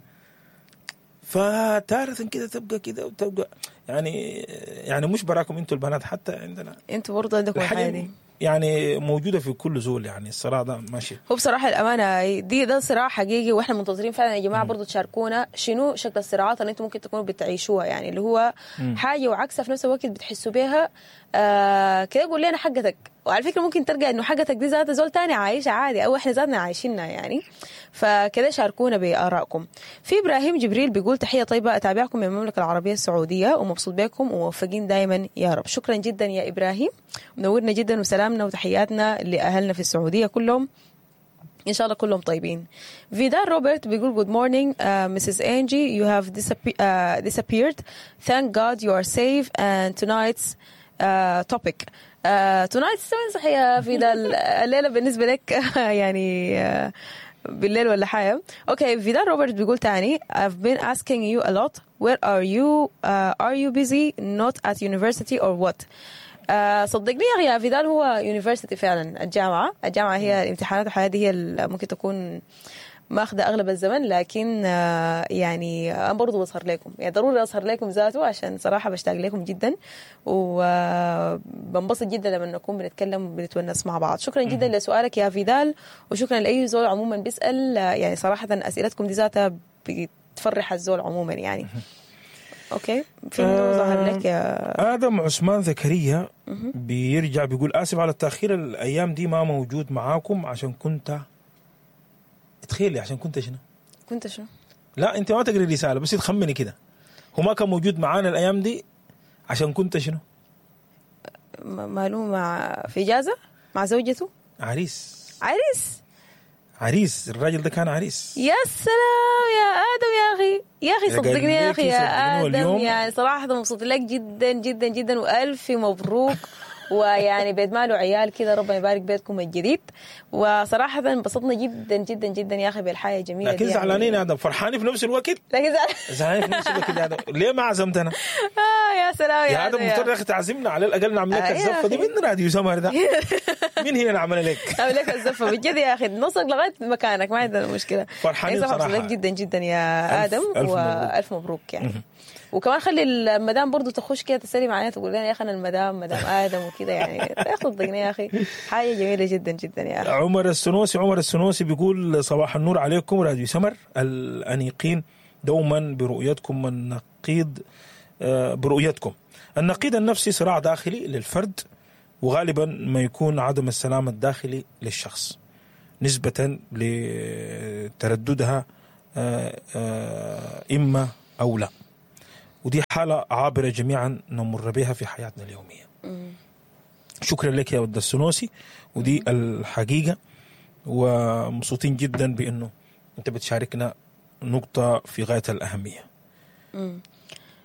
فتارة كده تبقى كده وتبقى يعني يعني مش براكم انتوا البنات، حتى عندنا انتوا برضه عندكم الحاجة دي يعني موجودة في كل زول. يعني الصراع ده ماشي. هو بصراحة الأمانة دي ده صراع حقيقي، وإحنا منتظرين فعلا يا جماعة برضو تشاركونا شنو شكل الصراعات اللي أنتم ممكن تكونوا بتعيشوها، يعني اللي هو مم. حاجة وعكسها في نفس الوقت بتحسوا بيها. آه كده قول لنا حقتك، وعلى فكرة ممكن ترجع إنه حقتك دي ذات زول تاني عايشة عادي أو إحنا ذاتنا عايشينها يعني. فكده شاركونا بآرائكم. في إبراهيم جبريل بيقول تحية طيبة، أتابعكم من المملكة العربية السعودية ومبسوط بكم وموفقين دائما يا رب. شكرا جدا يا إبراهيم، منورنا جدا، وسلامنا وتحياتنا لأهلنا في السعودية كلهم، إن شاء الله كلهم طيبين. فيدال روبرت بيقول good morning uh, Missus Angie, you have disappe- uh, disappeared, thank God you are safe and tonight's uh, topic uh, tonight's صحيح يا فيدال الليلة بالنسبة لك يعني uh, بالليل ولا حاجة. okay فيدال روبرت بيقول تاني I've been asking you a lot, where are you, uh, are you busy not at university or what. آه صدقني يا فيدال هو university فعلا، الجامعة الجامعة هي الامتحانات والحياة دي هي ممكن تكون ماخذة أغلب الزمن، لكن آه يعني أنا برضو بظهر لكم، يعني ضروري أظهر لكم ذاته عشان صراحة بشتاق لكم جدا وبنبسط جدا لما نكون بنتكلم وبنتونس مع بعض. شكرا جدا لسؤالك يا فيدال، وشكرا لأي زول عموما بيسأل، يعني صراحة أسئلتكم دي ذاتها بتفرح الزول عموما يعني. okay في منو ظهر لك يا ادم عثمان زكريا؟ بيرجع بيقول اسف على التاخير، الايام دي ما موجود معاكم عشان كنت تخيلي عشان كنت شنو؟ كنت شنو؟ لا انت ما تقري الرسالة بس تخمني كده، هو ما كان موجود معانا الايام دي عشان كنت شنو؟ ماله مع في اجازه مع زوجته؟ عريس. عريس عريس، الراجل ده كان عريس. يا سلام يا آدم يا أخي، يا أخي صدقني يا أخي يا آدم، يعني صراحة مبسوط لك جدا جدا جدا، وألف مبروك. ويعني بيت ماله عيال كده، ربنا يبارك بيتكم الجديد. وصراحة انبسطنا جدا جدا جدا يا أخي بالحياة الجميلة. لكن زعلانين يا آدم، فرحانين في نفس الوقت، لكن زعلانين في نفس الوقت يا آدم، ليه ما عزمتنا؟ آه يا سلام يا, يا ادم، مفترض يا اخي تعزمنا على الاقل نعمل لك آه يا الزفه دي أخي. من راديو سمر ده، من هنا نعمل لك. نعمل لك الزفه بجد يا اخي، نوصل لغاية مكانك، ما عندنا مشكلة. فرحانين يعني صراحة. مبسوطين جدا جدا يا ألف- ادم. ألف مبروك. والف مبروك يعني. وكمان خلي المدام برضو تخش كده تسلم علينا، تقول لنا يا اخي انا المدام، مدام ادم وكده يعني. يا صدقني يا اخي حاجة جميلة جدا جدا يا اخي. عمر السنوسي، عمر السنوسي بيقول صباح النور عليكم راديو سمر الأنيقين، دوما برؤيتكم النقيض آه، برؤيتكم النقيض النفسي صراع داخلي للفرد، وغالبا ما يكون عدم السلام الداخلي للشخص نسبة لترددها آه، آه، إما أو لا، ودي حالة عابرة جميعا نمر بها في حياتنا اليومية. شكرا لك يا ود السنوسي، ودي الحقيقة، ومبسوطين جدا بأنه أنت بتشاركنا نقطة في غاية الأهمية.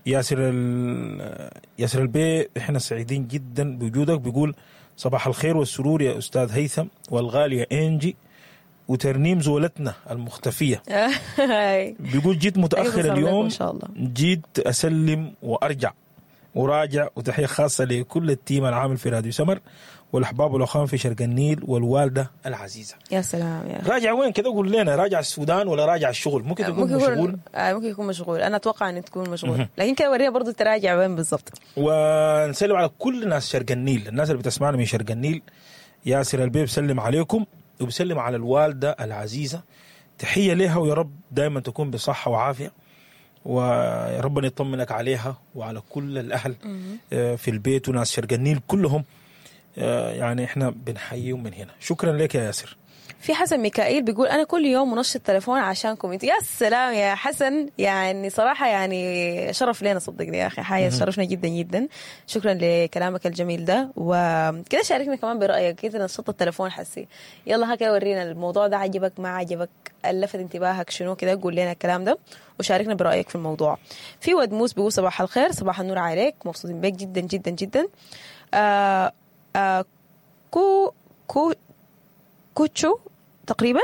ياسر ال... ياسر البي، احنا سعيدين جدا بوجودك. بيقول صباح الخير والسرور يا أستاذ هيثم والغالية إنجي وترنيم زولتنا المختفية. هاي. بيقول جيت متأخر أيوة، اليوم إن شاء الله. جيت أسلم وأرجع وراجع، وتحية خاصة لكل ال team العامل في راديو سمر والأحباب والأخوان في شرق النيل والوالدة العزيزة. يا سلام يا أخي. راجع وين كده؟ قول لنا، راجع السودان ولا راجع الشغل؟ ممكن تكون ممكن مشغول. يكون آه، ممكن يكون مشغول، انا اتوقع ان تكون مشغول، لكن كده ورينا برضو تراجع وين بالضبط. ونسلم على كل ناس شرق النيل، الناس اللي بتسمعنا من شرق النيل. ياسر البي بسلم عليكم وبسلم على الوالدة العزيزة، تحية لها، ويا رب دائما تكون بصحة وعافية، ويا ربنا يطمنك عليها وعلى كل الأهل آه، في البيت وناس شرق النيل كلهم. آه، يعني احنا بنحييهم من هنا. شكرا لك يا ياسر. في حسن ميكائيل بيقول انا كل يوم منشط تليفون عشانكم انتوا. يا سلام يا حسن، يعني صراحة يعني شرف لنا صدقني يا اخي، حاجة شرفنا جدا جدا. شكرا لكلامك الجميل ده، وكده شاركنا كمان برايك كده. نشط التليفون حسي، يلا هكذا ورينا الموضوع ده عجبك ما عجبك، لفت انتباهك شنو كده، قول لنا الكلام ده وشاركنا برايك في الموضوع. في ود موس بيقول صباح الخير، صباح النور عليك، مبسوطين بك جدا جدا جدا. آه آه كو كو كوتشو تقريبا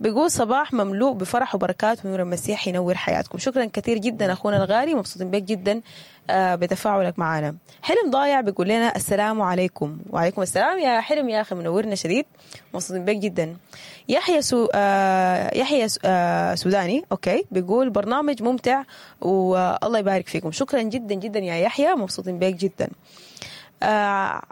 بيقول صباح مملوء بفرح وبركات ونور المسيح ينور حياتكم. شكرا كثير جدا اخونا الغالي، مبسوطين بك جدا آه، بتفاعلك معنا. حلم ضايع بيقول لنا السلام عليكم. وعليكم السلام يا حلم يا اخي، منورنا شديد، مبسوطين بك جدا. يحيى سو آه، يحيى سو آه، سوداني okay بيقول برنامج ممتع والله يبارك فيكم. شكرا جدا جدا يا يحيى، مبسوطين بك جدا. آه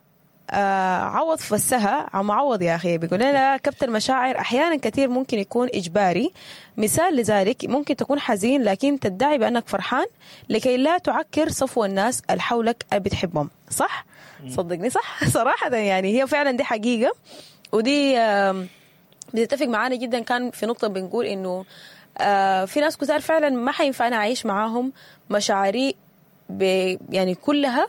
آه عوض فسها عم عوض يا أخي بيقول لنا كبت المشاعر أحيانا كثير ممكن يكون إجباري. مثال لذلك ممكن تكون حزين لكن تدعي بأنك فرحان لكي لا تعكر صفو الناس اللي حولك اللي بتحبهم. صح؟ صدقني صح. صراحة يعني هي فعلا دي حقيقة، ودي آم، بتتفق معانا جدا. كان في نقطة بنقول إنه آه في ناس كتار فعلا ما حينفع أنا أعيش معاهم مشاعري ب- يعني كلها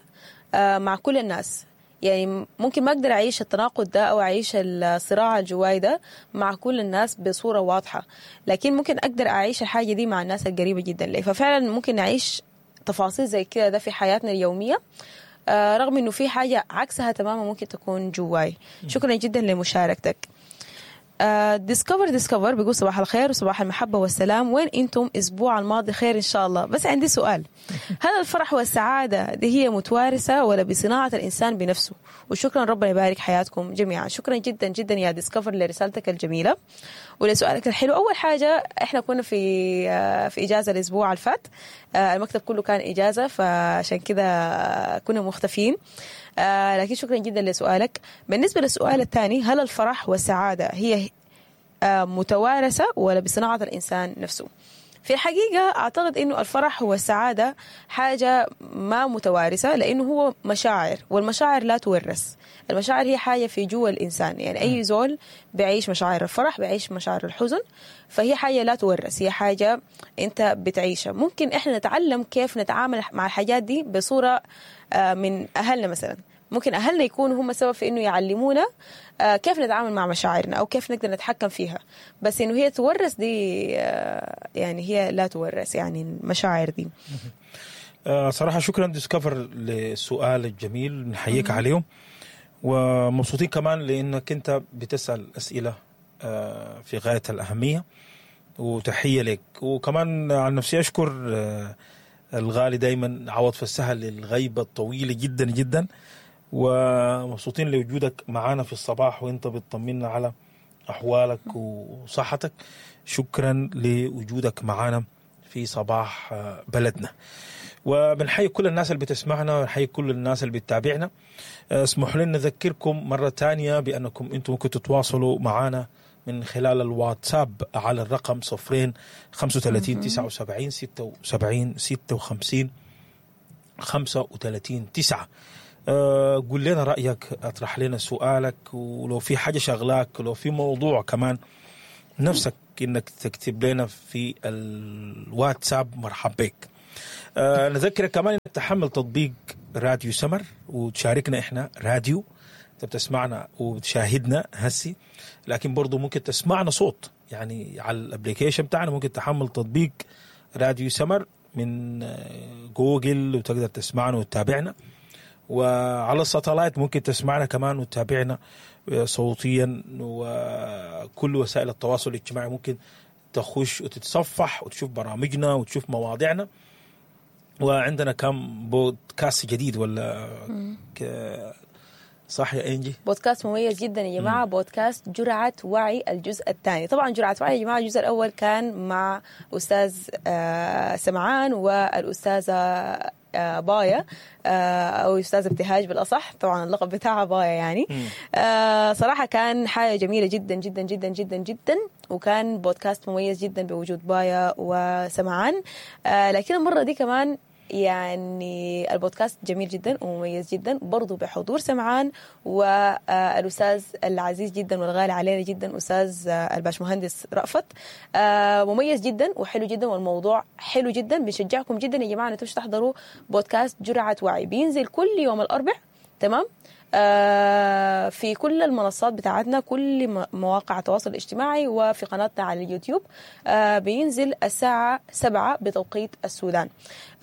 آه مع كل الناس. يعني ممكن ما أقدر أعيش التناقض ده أو أعيش الصراع الجواي ده مع كل الناس بصورة واضحة، لكن ممكن أقدر أعيش الحاجة دي مع الناس القريبة جدا لي. ففعلا ممكن نعيش تفاصيل زي كده ده في حياتنا اليومية، آه رغم إنه في حاجة عكسها تماما ممكن تكون جواي. شكرا جدا لمشاركتك. ديسكفر ديسكفر بيقول صباح الخير وصباح المحبة والسلام، وين انتم اسبوع الماضي؟ خير ان شاء الله. بس عندي سؤال، هل الفرح والسعادة دي هي متوارثة ولا بصناعة الإنسان بنفسه؟ وشكرا، ربنا يبارك حياتكم جميعا. شكرا جدا جدا يا ديسكفر لرسالتك الجميلة ولسؤالك الحلو. أول حاجة احنا كنا في آه، في إجازة الأسبوع اللي فات، آه، المكتب كله كان إجازة، فعشان كده كنا مختفيين. آه، لكن شكرا جدا لسؤالك. بالنسبة للسؤال الثاني، هل الفرح والسعادة هي آه، متوارثة ولا بصناعة الإنسان نفسه؟ في الحقيقة أعتقد أنه الفرح والسعادة حاجة ما متوارثة، لأنه هو مشاعر، والمشاعر لا تورث. المشاعر هي حاجة في جوا الإنسان، يعني أي زول بيعيش مشاعر الفرح بيعيش مشاعر الحزن، فهي حاجة لا تورث، هي حاجة أنت بتعيشها. ممكن إحنا نتعلم كيف نتعامل مع الحاجات دي بصورة آه، من أهلنا مثلا، ممكن أهلنا يكونوا هم السبب في إنه يعلمونا آه، كيف نتعامل مع مشاعرنا أو كيف نقدر نتحكم فيها. بس إنه هي تورث دي آه، يعني هي لا تورث، يعني المشاعر دي. آه، صراحة شكرا ديسكفر للسؤال الجميل، نحييك عليه، ومبسوطين كمان لأنك أنت بتسأل أسئلة آه، في غاية الأهمية، وتحية لك. وكمان عن نفسي أشكر آه، الغالي دايما عوض فالسهل للغيبة الطويلة جدا جدا، ومبسوطين لوجودك معانا في الصباح وانت بتطمنا على احوالك وصحتك. شكرا لوجودك معانا في صباح بلدنا. وبنحيي كل الناس اللي بتسمعنا ونحيي كل الناس اللي بتتابعنا. اسمحوا لنا نذكركم مرة تانية بأنكم انتم ممكن تتواصلوا معنا من خلال الواتساب على الرقم صفرين خمسة وثلاثين تسعة وسبعين ستة وسبعين ستة وخمسين خمسة وثلاثين تسعة. أه قول لنا رأيك، اطرح لنا سؤالك، ولو في حاجة شغلاك، ولو في موضوع كمان نفسك انك تكتب لنا في الواتساب، مرحب بك. أه نذكرك كمان انك تحمل تطبيق راديو سمر وتشاركنا احنا راديو، انت بتسمعنا وبتشاهدنا هسي، لكن برضو ممكن تسمعنا صوت يعني على ال application بتاعنا. ممكن تحمل تطبيق راديو سمر من جوجل وتقدر تسمعنا وتتابعنا، وعلى ال satellite ممكن تسمعنا كمان وتتابعنا صوتيا، وكل وسائل التواصل الاجتماعي ممكن تخش وتتصفح وتشوف برامجنا وتشوف مواضيعنا. وعندنا كم بودكاست جديد ولا ك... صح يا إنجي؟ بودكاست مميز جدا يا جماعة، بودكاست جرعة وعي الجزء الثاني. طبعا جرعة وعي يا جماعة الجزء الأول كان مع أستاذ سمعان والأستاذة بايا، أو أستاذ ابتهاج بالأصح، طبعا اللقب بتاعها بايا يعني. آه صراحة كان حاجة جميلة جدا جدا جدا جدا جدا، وكان بودكاست مميز جدا بوجود بايا وسمعان. آه لكن المرة دي كمان يعني البودكاست جميل جدا ومميز جدا برضو بحضور سمعان والأستاذ العزيز جدا والغالي علينا جدا أستاذ الباشمهندس رأفت. مميز جدا وحلو جدا، والموضوع حلو جدا. بنشجعكم جدا يا جماعة أنتم تحضروا بودكاست جرعة وعي، بينزل كل يوم الأربع، تمام، في كل المنصات بتاعتنا، كل مواقع التواصل الاجتماعي وفي قناتنا على اليوتيوب. بينزل الساعة سبعة بتوقيت السودان.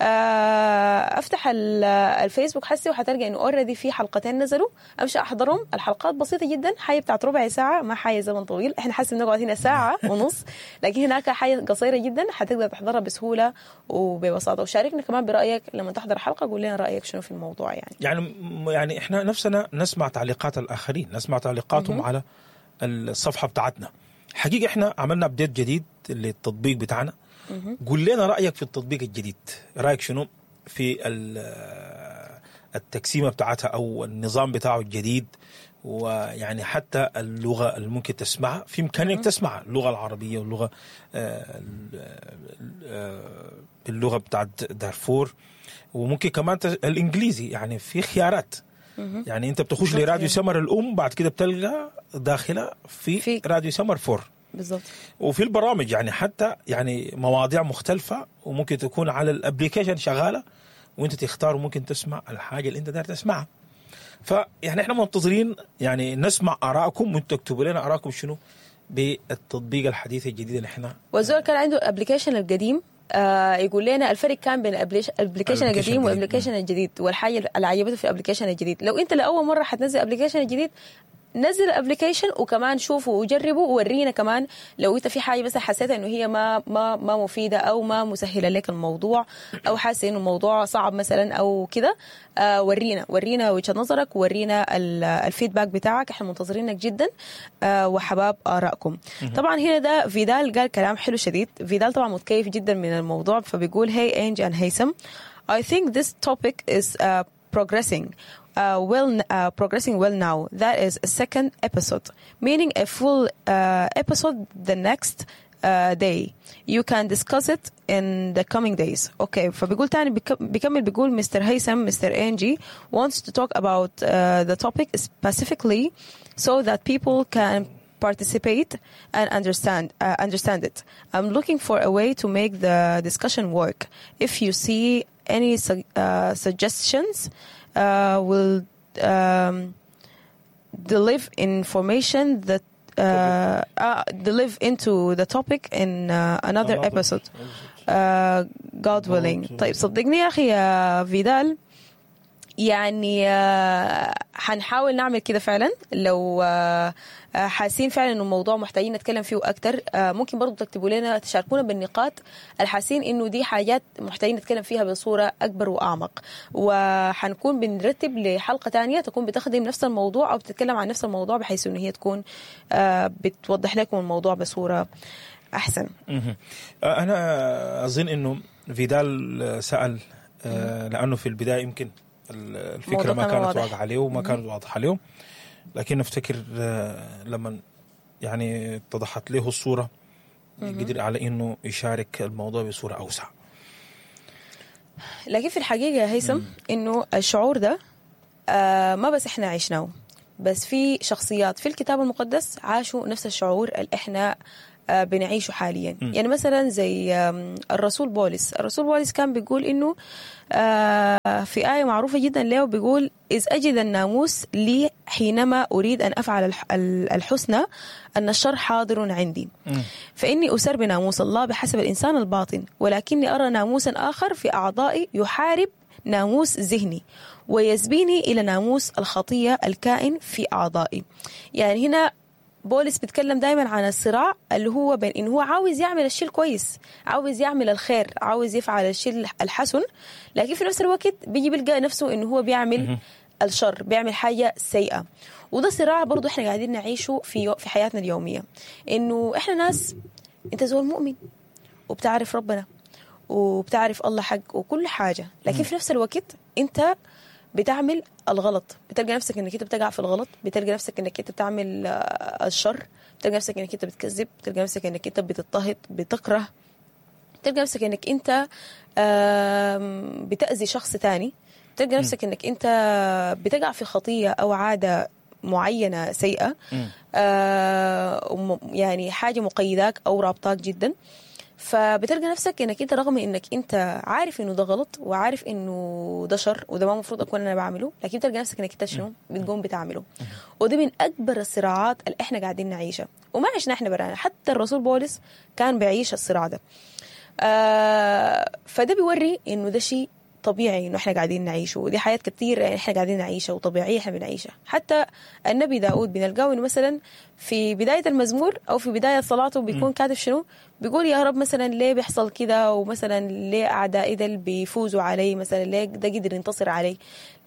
افتح الفيسبوك حسي وحتلقى انه already في حلقتين نزلوا، امشي احضرهم. الحلقات بسيطة جدا، حاجة بتاعت ربع ساعة، ما حاجة زمن طويل، احنا حاسس بنقعد هنا ساعة ونص، لكن هناك حاجة قصيرة جدا حتقدر تحضرها بسهولة وببساطة. وشاركنا كمان برأيك لما تحضر حلقة، قول لنا رأيك شنو في الموضوع. يعني يعني يعني احنا نفسنا نسمع تعليقات الآخرين، نسمع تعليقاتهم م- على الصفحة بتاعتنا. حقيقة احنا عملنا update جديد للتطبيق بتاعنا. قول لنا رأيك في التطبيق الجديد، رأيك شنو في التقسيمة بتاعتها أو النظام بتاعه الجديد، ويعني حتى اللغة اللي ممكن تسمعها، في إمكانية تسمع اللغة العربية واللغة اللغة بتاعت دارفور، وممكن كمان الإنجليزي. يعني في خيارات، يعني انت بتخش لراديو سمر الام، بعد كده بتلقى داخله في, في راديو سمر فور بالضبط. وفي البرامج يعني حتى يعني مواضيع مختلفة، وممكن تكون على ال application شغالة وانت تختار، وممكن تسمع الحاجة اللي انت داير تسمعها. فيعني احنا منتظرين يعني نسمع ارائكم، وانتوا تكتبوا لنا ارائكم شنو بالتطبيق الحديث الجديد اللي احنا. والزول كان عنده ال application القديم، آه يقول لنا الفرق كان بين ال application القديم وال application الجديد، والحاجة اللي عجبته في ال application الجديد. لو انت لاول مرة حتنزل ال application الجديد، نزل ال application وكمان شوفه وجربه وورينا كمان لو انت في حاجة مثلا حسيت انه هي ما ما ما مفيدة او ما مسهلة لك الموضوع، او حاسس انه الموضوع صعب مثلا او كده. آه ورينا ورينا وجهه نظرك، ورينا ال feedback بتاعك، احنا منتظرينك جدا، آه وحباب ارائكم. طبعا هنا ده فيدال قال كلام حلو شديد. فيدال طبعا متكيف جدا من الموضوع، فبيقول hey Angie and هيثم, I think this topic is uh, progressing Uh, well, uh, progressing well now. That is a second episode, meaning a full uh, episode the next uh, day. You can discuss it in the coming days. Okay. فبيقول تاني، بيكمل بيقول مستر هيثم, مستر Angie wants to talk about uh, the topic specifically so that people can participate and understand uh, understand it. I'm looking for a way to make the discussion work. If you see any su- uh, suggestions, uh, will um, deliver information that uh, uh, deliver into the topic in uh, another episode. Uh, God willing. طيب صدقني يا أخي يا فيدال، يعني آه، حنحاول نعمل كده فعلا. لو آه، آه، حاسين فعلا انه الموضوع محتاجين نتكلم فيه اكتر، آه، ممكن برضو تكتبوا لنا، تشاركونا بالنقاط الحاسين انه دي حاجات محتاجين نتكلم فيها بصورة اكبر واعمق، وحنكون بنرتب لحلقة تانية تكون بتخدم نفس الموضوع او بتتكلم عن نفس الموضوع، بحيث انه هي تكون آه، بتوضح لكم الموضوع بصورة احسن. مهم. آه، انا اظن انه فيدال آه، سال آه، لانه في البداية يمكن ال- الفكرة الموضوع ما كان كانت واضح. واضحة عليه وما كانت واضحة عليه، لكن افتكر آه، لما يعني اتضحت له الصورة قدر على انه يشارك الموضوع بصورة اوسع. لكن في الحقيقة يا هيثم إنه الشعور ده آه ما بس إحنا عشناه، بس في شخصيات في الكتاب المقدس عاشوا نفس الشعور اللي إحنا آه بنعيشه حاليا. يعني مثلا زي آم، الرسول بولس، الرسول بولس كان بيقول إنه آه في آية معروفة جدا له، بيقول إذ أجد الناموس لي حينما أريد أن أفعل الح- الحسنى أن الشر حاضر عندي، فإني أسر بناموس الله بحسب الإنسان الباطن، ولكني أرى ناموسا آخر في أعضائي يحارب ناموس ذهني ويسبيني إلى ناموس الخطية الكائن في أعضائي. يعني هنا بولس بيتكلم دايما عن الصراع اللي هو بين إنه هو عاوز يعمل الشيء الكويس، عاوز يعمل الخير، عاوز يفعل الشيء الحسن، لكن في نفس الوقت بيجي بيلقى نفسه إنه هو بيعمل الشر، بيعمل حاجة سيئة. وده صراع برضو احنا قاعدين نعيشه في في حياتنا اليومية، إنه احنا ناس، انت زول مؤمن وبتعرف ربنا وبتعرف الله حق وكل حاجة، لكن في نفس الوقت انت بتعمل الغلط، بتلقى نفسك انك انت بتقع في الغلط، بتلقى نفسك انك انت بتعمل آه، الشر، بتلقى نفسك انك انت بتكذب، بتلقى نفسك انك انت بتضطهد، بتكره، بتلقى نفسك انك انت آم، بتأذي شخص تاني، بتلقى نفسك انك انت بتقع في خطية او عادة معينة سيئة، آه، وم- يعني حاجة مقيداك او رابطاك جدا. فبتلقى نفسك انك انت رغم انك انت عارف انه ده غلط وعارف انه ده شر وده ما المفروض اكون انا بعمله، لكن بتلقى نفسك انك انت شنو بتقوم بتعمله. ودي من اكبر الصراعات اللي احنا قاعدين نعيشها، وما عشنا احنا برانا، حتى الرسول بولس كان بيعيش الصراع ده. آه فده بيوري انه ده شيء طبيعي انه احنا قاعدين نعيشه، ودي حياة كتير يعني احنا قاعدين نعيشها وطبيعيه احنا بنعيشها. حتى النبي داود بنلقاه انه مثلا في بداية المزمور او في بداية صلاته بيكون كاتب شنو؟ بيقول يا رب مثلا ليه بيحصل كده، ومثلا ليه اعدائي ده بيفوزوا علي، مثلا ليه ده قدر ينتصر علي.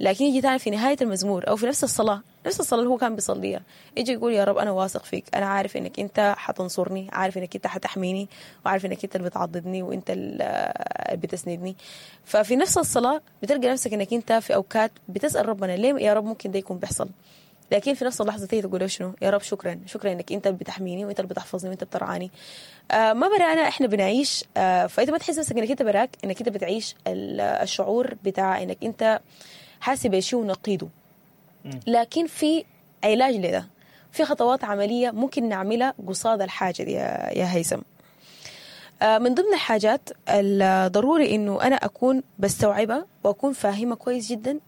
لكن يجي تاني في نهاية المزمور او في نفس الصلاة، نفس الصلاة اللي هو كان بيصليها، يجي يقول يا رب انا واثق فيك، انا عارف انك انت حتنصرني، عارف انك انت حتحميني، وعارف انك انت اللي بتعضدني وانت اللي بتسندني. ففي نفس الصلاة بتلقى نفسك انك انت في اوقات بتسال ربنا ليه يا رب ممكن ده يكون بيحصل، لكن في نفس اللحظة تيجي تقول له شنو؟ يا رب شكرا، شكرا انك انت بتحميني وانت اللي بتحفظني وانت بترعاني. آه ما برانا احنا بنعيش، آه فانت ما تحس نفسك انك انت براك، انك انت بتعيش ال- الشعور بتاع انك انت حاسب بشيء ونقيضه. لكن في علاج لده، في خطوات عملية ممكن نعملها قصاد الحاجة دي يا يا هيثم. آه، من ضمن الحاجات الضروري انه انا اكون بستوعبها واكون فاهمه كويس جدا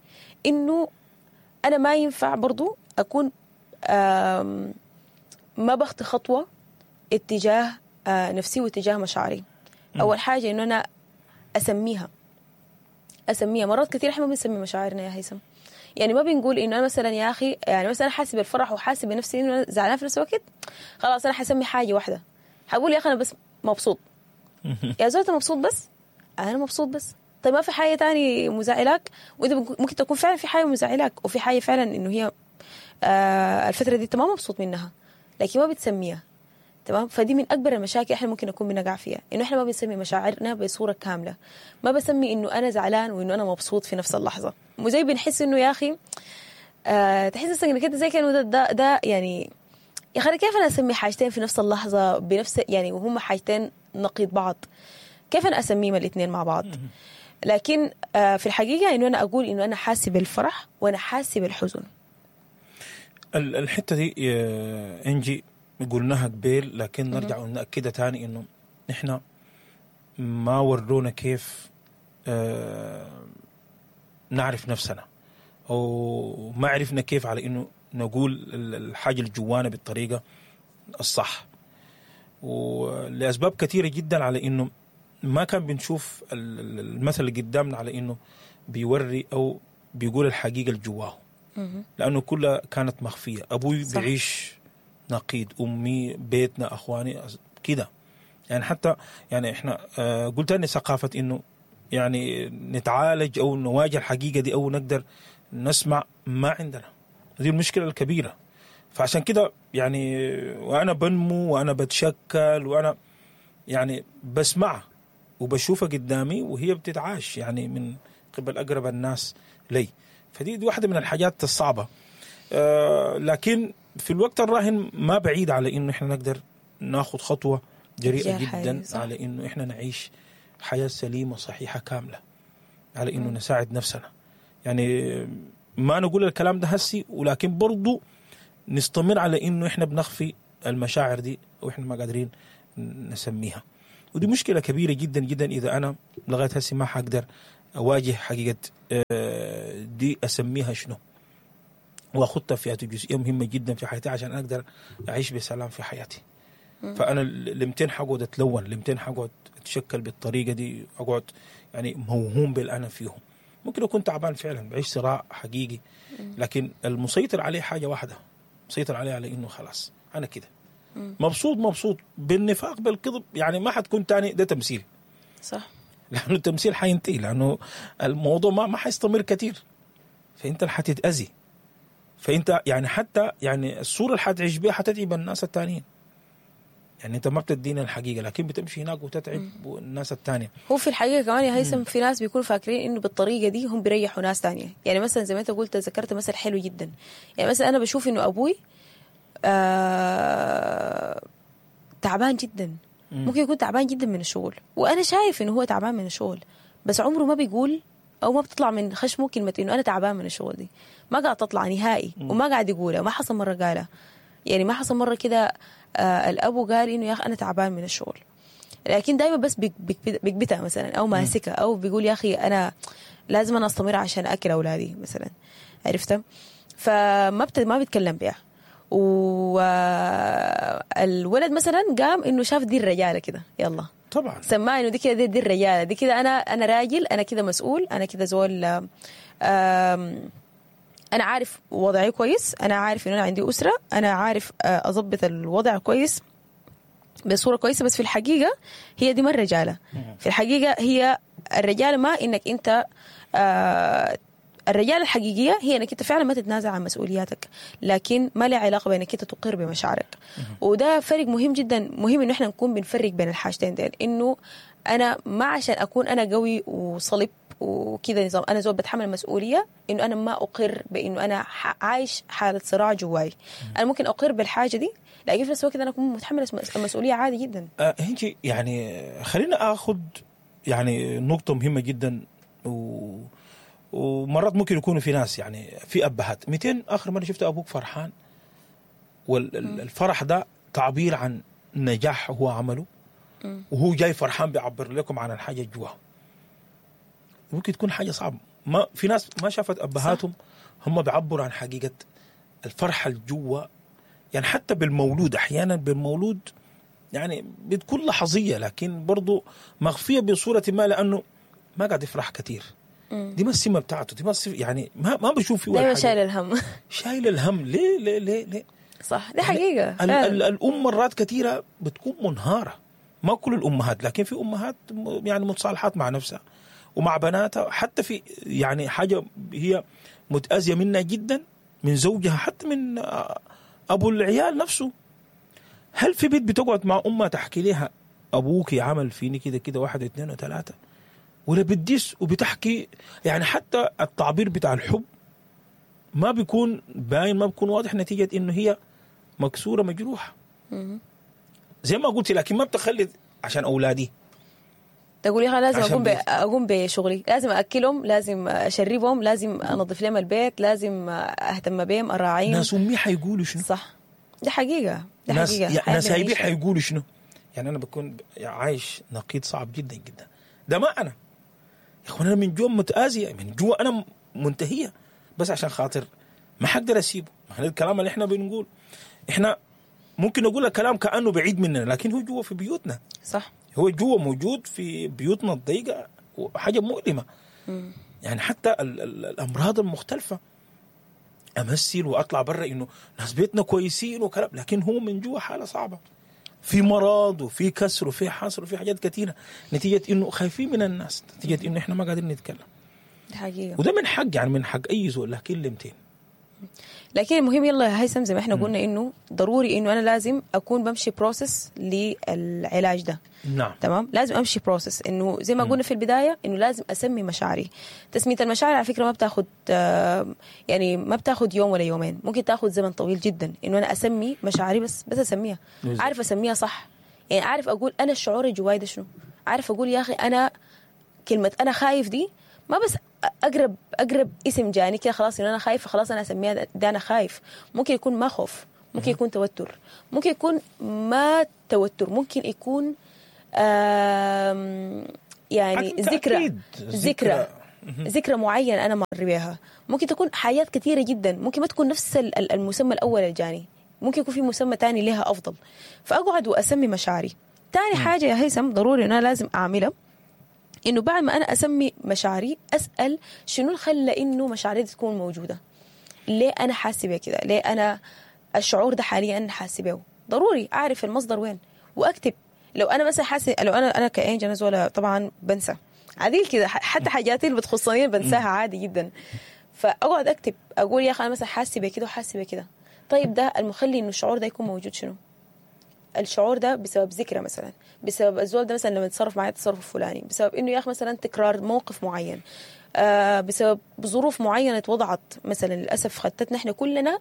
انه انا ما ينفع برضو اكون آم، ما بخطي خطوة اتجاه آه، نفسي واتجاه مشاعري. اول حاجة انه انا اسميها، اسميها. مرات كثير احنا ما بنسمي مشاعرنا يا هيثم، يعني ما بنقول انه انا مثلا يا اخي، يعني مثلا حاسه بالفرح وحاسه بنفسي انه انا زعلانة في نفس الوقت، خلاص انا حسمي حاجة واحدة، حقول يا اخي انا بس مبسوط. يا زول انت مبسوط بس؟ انا مبسوط بس. طيب ما في حاجة تاني مزعلاك؟ وانت ممكن تكون فعلا في حاجة مزعلاك، وفي حاجة فعلا انه هي آه الفترة دي انت ما مبسوط منها، لكن ما بتسميها. تمام؟ فدي من اكبر المشاكل احنا ممكن نكون بنقع فيها، انه احنا ما بنسمي مشاعرنا بصورة كاملة. ما بسمي انه انا زعلان وانه انا مبسوط في نفس اللحظة. وزي بنحس انه يا اخي آه تحس نفسك انك انت زي كانه ده, ده, ده يعني يا اخي كيف انا اسمي حاجتين في نفس اللحظة بنفس يعني وهم حاجتين نقيض بعض، كيف انا اسميهم الاثنين مع بعض؟ لكن آه في الحقيقة انه انا اقول انه انا حاسه بالفرح وانا حاسه بالحزن. ال- الحتة دي يا انجي قلناها قبيل، لكن نرجع ونأكدها تاني انه نحن ما ورونا كيف آه، نعرف نفسنا، او ما عرفنا كيف على انه نقول ال- الحاجة اللي جوانا بالطريقة الصح، ولاسباب كثيرة جدا على انه ما كان بنشوف ال- ال- المثل اللي قدامنا على انه بيوري او بيقول الحقيقة اللي جواه، لانه كلها كانت مخفية. ابوي صح. بيعيش نقيض، امي، بيتنا، اخواني كده. يعني حتى يعني احنا آه قلت اني ثقافة انه يعني نتعالج او نواجه الحقيقة دي او نقدر نسمع ما عندنا، دي المشكلة الكبيرة. فعشان كده يعني وانا بنمو وانا بتشكل وانا يعني بسمعها وبشوفها قدامي وهي بتتعاش يعني من قبل اقرب الناس لي. فدي دي واحدة من الحاجات الصعبة. آه لكن في الوقت الراهن ما بعيد على انه احنا نقدر ناخذ خطوة جريئة تجاه الحياة، جدا صح. على انه احنا نعيش حياة سليمة صحيحه كاملة، على انه نساعد نفسنا. يعني ما نقول الكلام ده هسي، ولكن برضو نستمر على انه احنا بنخفي المشاعر دي واحنا ما قادرين نسميها. ودي مشكلة كبيرة جدا جدا اذا انا لغاية هسي ما حقدر اواجه حقيقة آه، دي اسميها شنو، واخدها في جزئية مهمة جدا في حياتي عشان اقدر اعيش بسلام في حياتي. فانا لمتين حقعد اتلون، لمتين حقعد اتشكل بالطريقة دي، اقعد يعني موهوم باللي انا فيهم. ممكن اكون تعبان فعلا، بعيش صراع حقيقي، لكن المسيطر عليه حاجة واحدة، مسيطر عليه على انه خلاص انا كده مبسوط، مبسوط بالنفاق بالكذب، يعني ما حتكون تاني ده تمثيل. صح، لانه التمثيل حينتهي، لانه الموضوع ما ما حيستمر كثير، فانت اللي حتتاذي. فانت يعني حتى يعني الصورة اللي حتعيش بيها حتتعب الناس التانيين. يعني انت ما بتدينا الحقيقة، لكن بتمشي هناك وتتعب الناس التانية. هو في الحقيقة كمان يا هيثم في ناس بيكونوا فاكرين انه بالطريقة دي هم بيريحوا ناس تانية. يعني مثلا زي ما انت قلت، ذكرت مثل حلو جدا. يعني مثلا انا بشوف انه ابوي آه تعبان جدا، ممكن يكون تعبان جدا من الشغل، وانا شايف انه هو تعبان من الشغل، بس عمره ما بيقول او ما بتطلع من خشمه كلمة انه انا تعبان من الشغل دي، ما قاعد تطلع نهائي، وما قاعد يقولها، ما حصل مرة قالها. يعني ما حصل مرة كده آه الابو قال انه يا اخي انا تعبان من الشغل، لكن دائما بس بيكبتها مثلا او ماسكها، او بيقول يا اخي انا لازم انا استمر عشان اكل اولادي مثلا، عرفتها؟ فما بت... ما بيتكلم بيها. والولد مثلا قام انه شاف دي الرجالة كده، يلا طبعا سماه انه دي كده دي, دي الرجالة دي كده، انا انا راجل، انا كده مسؤول، انا كده زول، انا عارف وضعي كويس، انا عارف انه انا عندي اسره، انا عارف اضبط الوضع كويس بصورة كويسة. بس في الحقيقة هي دي ما الرجالة. في الحقيقة هي الرجالة ما انك انت آه الرجالة الحقيقية هي انك انت فعلا ما تتنازل عن مسؤولياتك، لكن ما لها علاقة بانك انت تقر بمشاعرك. وده فرق مهم جدا، مهم انه احنا نكون بنفرق بين الحاجتين ديل، انه انا ما عشان اكون انا قوي وصلب وكذا نظام انا زول بتحمل المسؤولية، انه انا ما اقر بانه انا عايش حاله صراع جواي. انا ممكن اقر بالحاجة دي، لكن في نفس الوقت انا اكون متحملة المسؤولية عادي جدا. أه هنجي يعني خلينا اخذ يعني نقطة مهمة جدا، و ومرات ممكن يكونوا في ناس يعني في ابهات مئتين اخر مرة شفت ابوك فرحان، والفرح ده تعبير عن نجاح هو عمله، وهو جاي فرحان بيعبر لكم عن الحاجة جواه. ممكن تكون حاجة صعبة، ما في ناس ما شافت ابهاتهم هم بيعبروا عن حقيقة الفرحة الجوا. يعني حتى بالمولود احيانا بالمولود يعني بتكون لحظيه، لكن برضو مخفية بصورة ما، لانه ما قاعد يفرح كثير. دي ما السمة بتاعته، دي ما السمة يعني ما ما بشوف فيه دايما شايل الهم. شايل الهم ليه ليه ليه ليه؟ صح، دي حقيقة. يعني ال ال الام مرات كثيرة بتكون منهاره، ما كل الامهات، لكن في امهات يعني متصالحات مع نفسها ومع بناتها، حتى في يعني حاجة هي متاذيه منها جدا من زوجها، حتى من ابو العيال نفسه. هل في بيت بتقعد مع امها تحكي لها ابوك عمل فيني كده كده واحد واثنين وثلاثة، ولا بتدس وبتحكي؟ يعني حتى التعبير بتاع الحب ما بيكون باين، ما بيكون واضح، نتيجة انه هي مكسورة مجروحة زي ما قلت. لكن ما بتخلي عشان اولادي تقول يا لازم اقوم اقوم بشغلي، لازم اكلهم، لازم اشربهم، لازم انظف لهم البيت، لازم اهتم بهم، اراعيهم. ناس امي حيقولوا شنو؟ صح، دي حقيقة، دي ناس حقيقة. ناس هيبي حيقولوا شنو؟ يعني انا بكون عايش نقيض صعب جدا جدا. ده ما انا يا اخوان، انا من جوا متآزية، من جوا انا منتهية، بس عشان خاطر ما حقدر اسيبه. ما هذا الكلام اللي احنا بنقول، احنا ممكن نقول الكلام كأنه بعيد مننا، لكن هو جوا في بيوتنا. صح، هو جوا موجود في بيوتنا الضيقة، وحاجة مؤلمة. مم. يعني حتى ال ال الامراض المختلفة امثل واطلع برا انه ناس بيتنا كويسين وكلام، لكن هو من جوا حاله صعبة، في مرض وفي كسر وفي حصر وفي حاجات كثيرة، نتيجة انه خايفين من الناس، نتيجة انه احنا ما قادرين نتكلم. دي حقيقة. وده من حق، يعني من حق اي زول، لكن لمتين. لكن المهم يلا يا هيثم زي ما احنا قلنا انه ضروري انه انا لازم اكون بمشي process للعلاج ده. نعم. تمام، لازم امشي process، انه زي ما قلنا في البداية انه لازم اسمي مشاعري. تسميه المشاعر على فكرة ما بتاخد يعني ما بتاخد يوم ولا يومين، ممكن تاخد زمن طويل جدا انه انا اسمي مشاعري، بس بس اسميها، عارف اسميها صح، يعني عارف اقول انا الشعور جواي ده شنو، عارف اقول يا اخي انا كلمة انا خايف دي ما بس اقرب اقرب اسم جاني كده خلاص انه انا خايف خلاص انا اسميها ده انا خايف. ممكن يكون ما خوف، ممكن يكون توتر، ممكن يكون ما توتر، ممكن يكون يعني ذكرى ذكرى ذكرى معينة انا مر بيها، ممكن تكون حاجات كثيرة جدا، ممكن ما تكون نفس المسمى الاول الجاني، ممكن يكون في مسمى تاني لها افضل. فاقعد واسمي مشاعري. تاني حاجة يا هيثم ضروري ان انا لازم اعملها، إنه بعد ما أنا أسمي مشاعري أسأل شنو اللي خلى إنه مشاعري دي تكون موجودة، ليه أنا حاسة بيه كده، ليه أنا الشعور ده حاليا أنا حاسة بيه. ضروري أعرف المصدر وين وأكتب. لو أنا مثلا حاسة، لو أنا أنا كأنج أنا زولة طبعا بنسى عديل كده، حتى حاجاتي اللي بتخصني بنساها عادي جدا، فأقعد أكتب أقول يا أخي أنا مثلا حاسة بيه كده وحاسة بيه كده. طيب ده المخلي إنه الشعور ده يكون موجود شنو؟ الشعور ده بسبب ذكرى مثلا، بسبب الزول ده مثلا لما يتصرف معي التصرف الفلاني، بسبب انه يا اخي مثلا تكرار موقف معين، آه بسبب ظروف معينة اتوضعت مثلا للاسف خدتنا احنا كلنا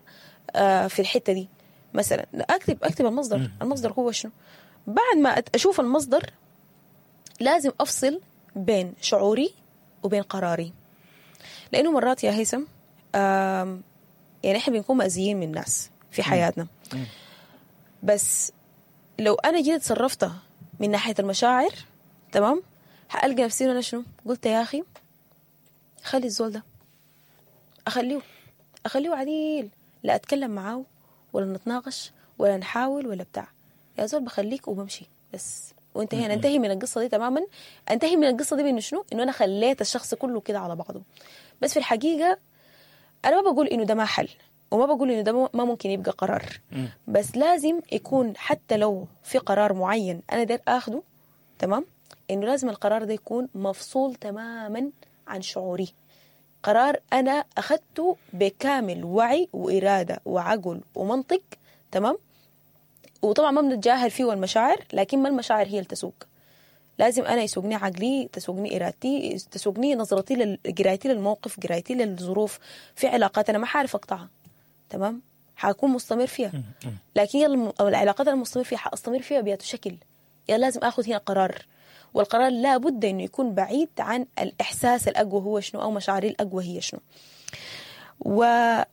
آه في الحتة دي مثلا. اكتب اكتب المصدر، المصدر هو شنو. بعد ما اشوف المصدر لازم افصل بين شعوري وبين قراري، لانه مرات يا هيثم آه يعني احنا بنكون مأذيين من الناس في حياتنا، بس لو أنا جيت تصرفت من ناحية المشاعر تمام حألقى نفسي أنا شنو قلت يا أخي خلي الزول ده أخليه أخليه عديل، لا أتكلم معاه ولا نتناقش ولا نحاول ولا بتاع، يا زول بخليك وبمشي بس وانتهينا. انتهي من القصة دي تماما، انتهي من القصة دي بإنه شنو، إنه أنا خليت الشخص كله كده على بعضه. بس في الحقيقة أنا ما بقول إنه ده ما حل، وما بقول إنه ده ما ممكن يبقى قرار، بس لازم يكون حتى لو في قرار معين أنا داير آخده تمام، إنه لازم القرار ده يكون مفصول تماما عن شعوري، قرار أنا أخذته بكامل وعي وإرادة وعقل ومنطق تمام. وطبعا ما بنتجاهل فيه المشاعر، لكن ما المشاعر هي اللي تسوق، لازم أنا يسوقني عقلي، تسوقني إرادتي، تسوقني نظرتي لقرايتي للموقف، قرايتي للظروف. في علاقات أنا ما حعرف أقطعها تمام، حأكون مستمر فيها، لكن العلاقات المستمر فيها حأستمر فيها بأي شكل، يعني لازم أخذ هنا قرار، والقرار لا بد إنه يكون بعيد عن الإحساس الأقوى هو شنو، أو مشاعري الأقوى هي شنو. ومهم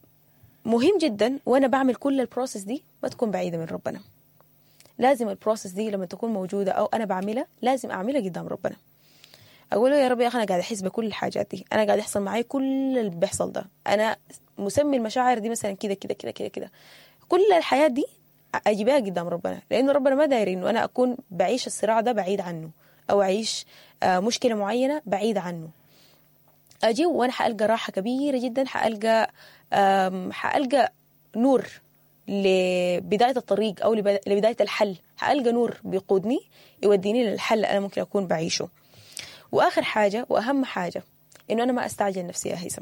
جدا وأنا بعمل كل ال process دي ما تكون بعيدة من ربنا، لازم ال process دي لما تكون موجودة أو أنا بعملها لازم أعملها قدام ربنا، أقول له يا رب يا أخي أنا قاعد أحس بكل الحاجات دي، أنا قاعد يحصل معي كل اللي بيحصل ده، أنا مسمي المشاعر دي مثلا كده كده كده كده كده، كل الحياة دي أجيبها قدام ربنا، لأنه ربنا ما داير إنه أنا أكون بعيش الصراع ده بعيد عنه، أو أعيش مشكلة معينة بعيد عنه. أجي وأنا حألقى راحة كبيرة جدا، حألقى حألقى نور لبداية الطريق أو لبداية الحل، حألقى نور بيقودني يوديني للحل أنا ممكن أكون بعيشه. وآخر حاجة وأهم حاجة إنه أنا ما أستعجل نفسي يا هيثم.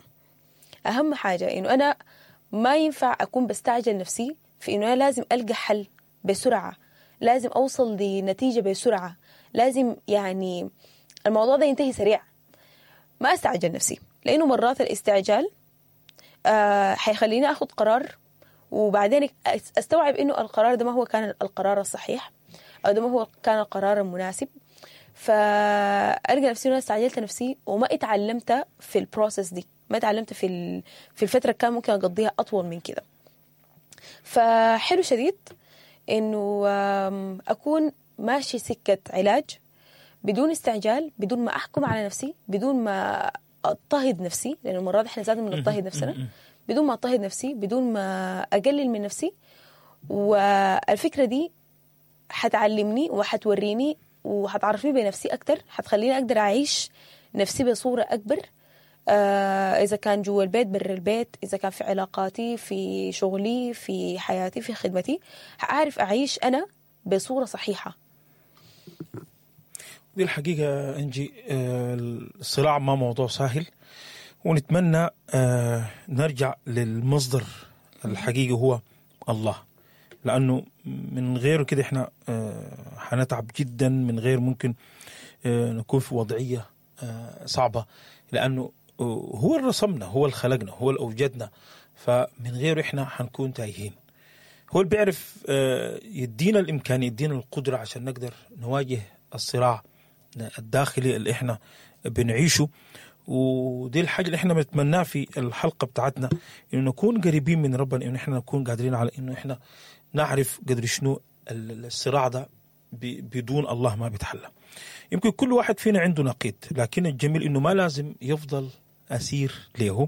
أهم حاجة إنه أنا ما ينفع أكون بستعجل نفسي في إنه أنا لازم ألقى حل بسرعة، لازم أوصل لنتيجة بسرعة، لازم يعني الموضوع ده ينتهي سريع. ما أستعجل نفسي، لأنه مرات الاستعجال آه حيخليني أخذ قرار وبعدين أستوعب إنه القرار ده ما هو كان القرار الصحيح، أو ده ما هو كان القرار المناسب، فأرجع نفسي أنا استعجلت نفسي وما اتعلمت في ال process دي، ما اتعلمت في في الفترة كان ممكن أقضيها أطول من كده. فحلو شديد إنه أكون ماشي سكة علاج بدون استعجال، بدون ما أحكم على نفسي، بدون ما أضطهد نفسي، لأنه مرات إحنا لازم نضطهد نفسنا، بدون ما أضطهد نفسي، بدون ما أقلل من نفسي. والفكرة دي حتعلمني وحتوريني وحتعرفني بنفسي أكتر، حتخليني أقدر أعيش نفسي بصورة أكبر، آه اذا كان جوا البيت، برا البيت، اذا كان في علاقاتي، في شغلي، في حياتي، في خدمتي، حاعرف اعيش انا بصورة صحيحه. دي الحقيقة انجي، آه، الصراع ما موضوع سهل، ونتمنى آه، نرجع للمصدر الحقيقي هو الله، لانه من غيره كده احنا آه، حنتعب جدا، من غير ممكن آه، نكون في وضعية آه، صعبة، لانه آه، هو اللي رسمنا، هو اللي خلقنا، هو اللي اوجدنا، فمن غيره احنا حنكون تايهين. هو اللي بيعرف آه، يدينا الامكانية، يدينا القدرة عشان نقدر نواجه الصراع الداخلي اللي احنا بنعيشه. ودي الحاجة اللي احنا بنتمناها في الحلقة بتاعتنا، انه نكون قريبين من ربنا، انه احنا نكون قادرين على انه احنا نعرف قدر شنو الصراع ده بدون الله ما بيتحلى. يمكن كل واحد فينا عنده نقيض، لكن الجميل انه ما لازم يفضل اسير له.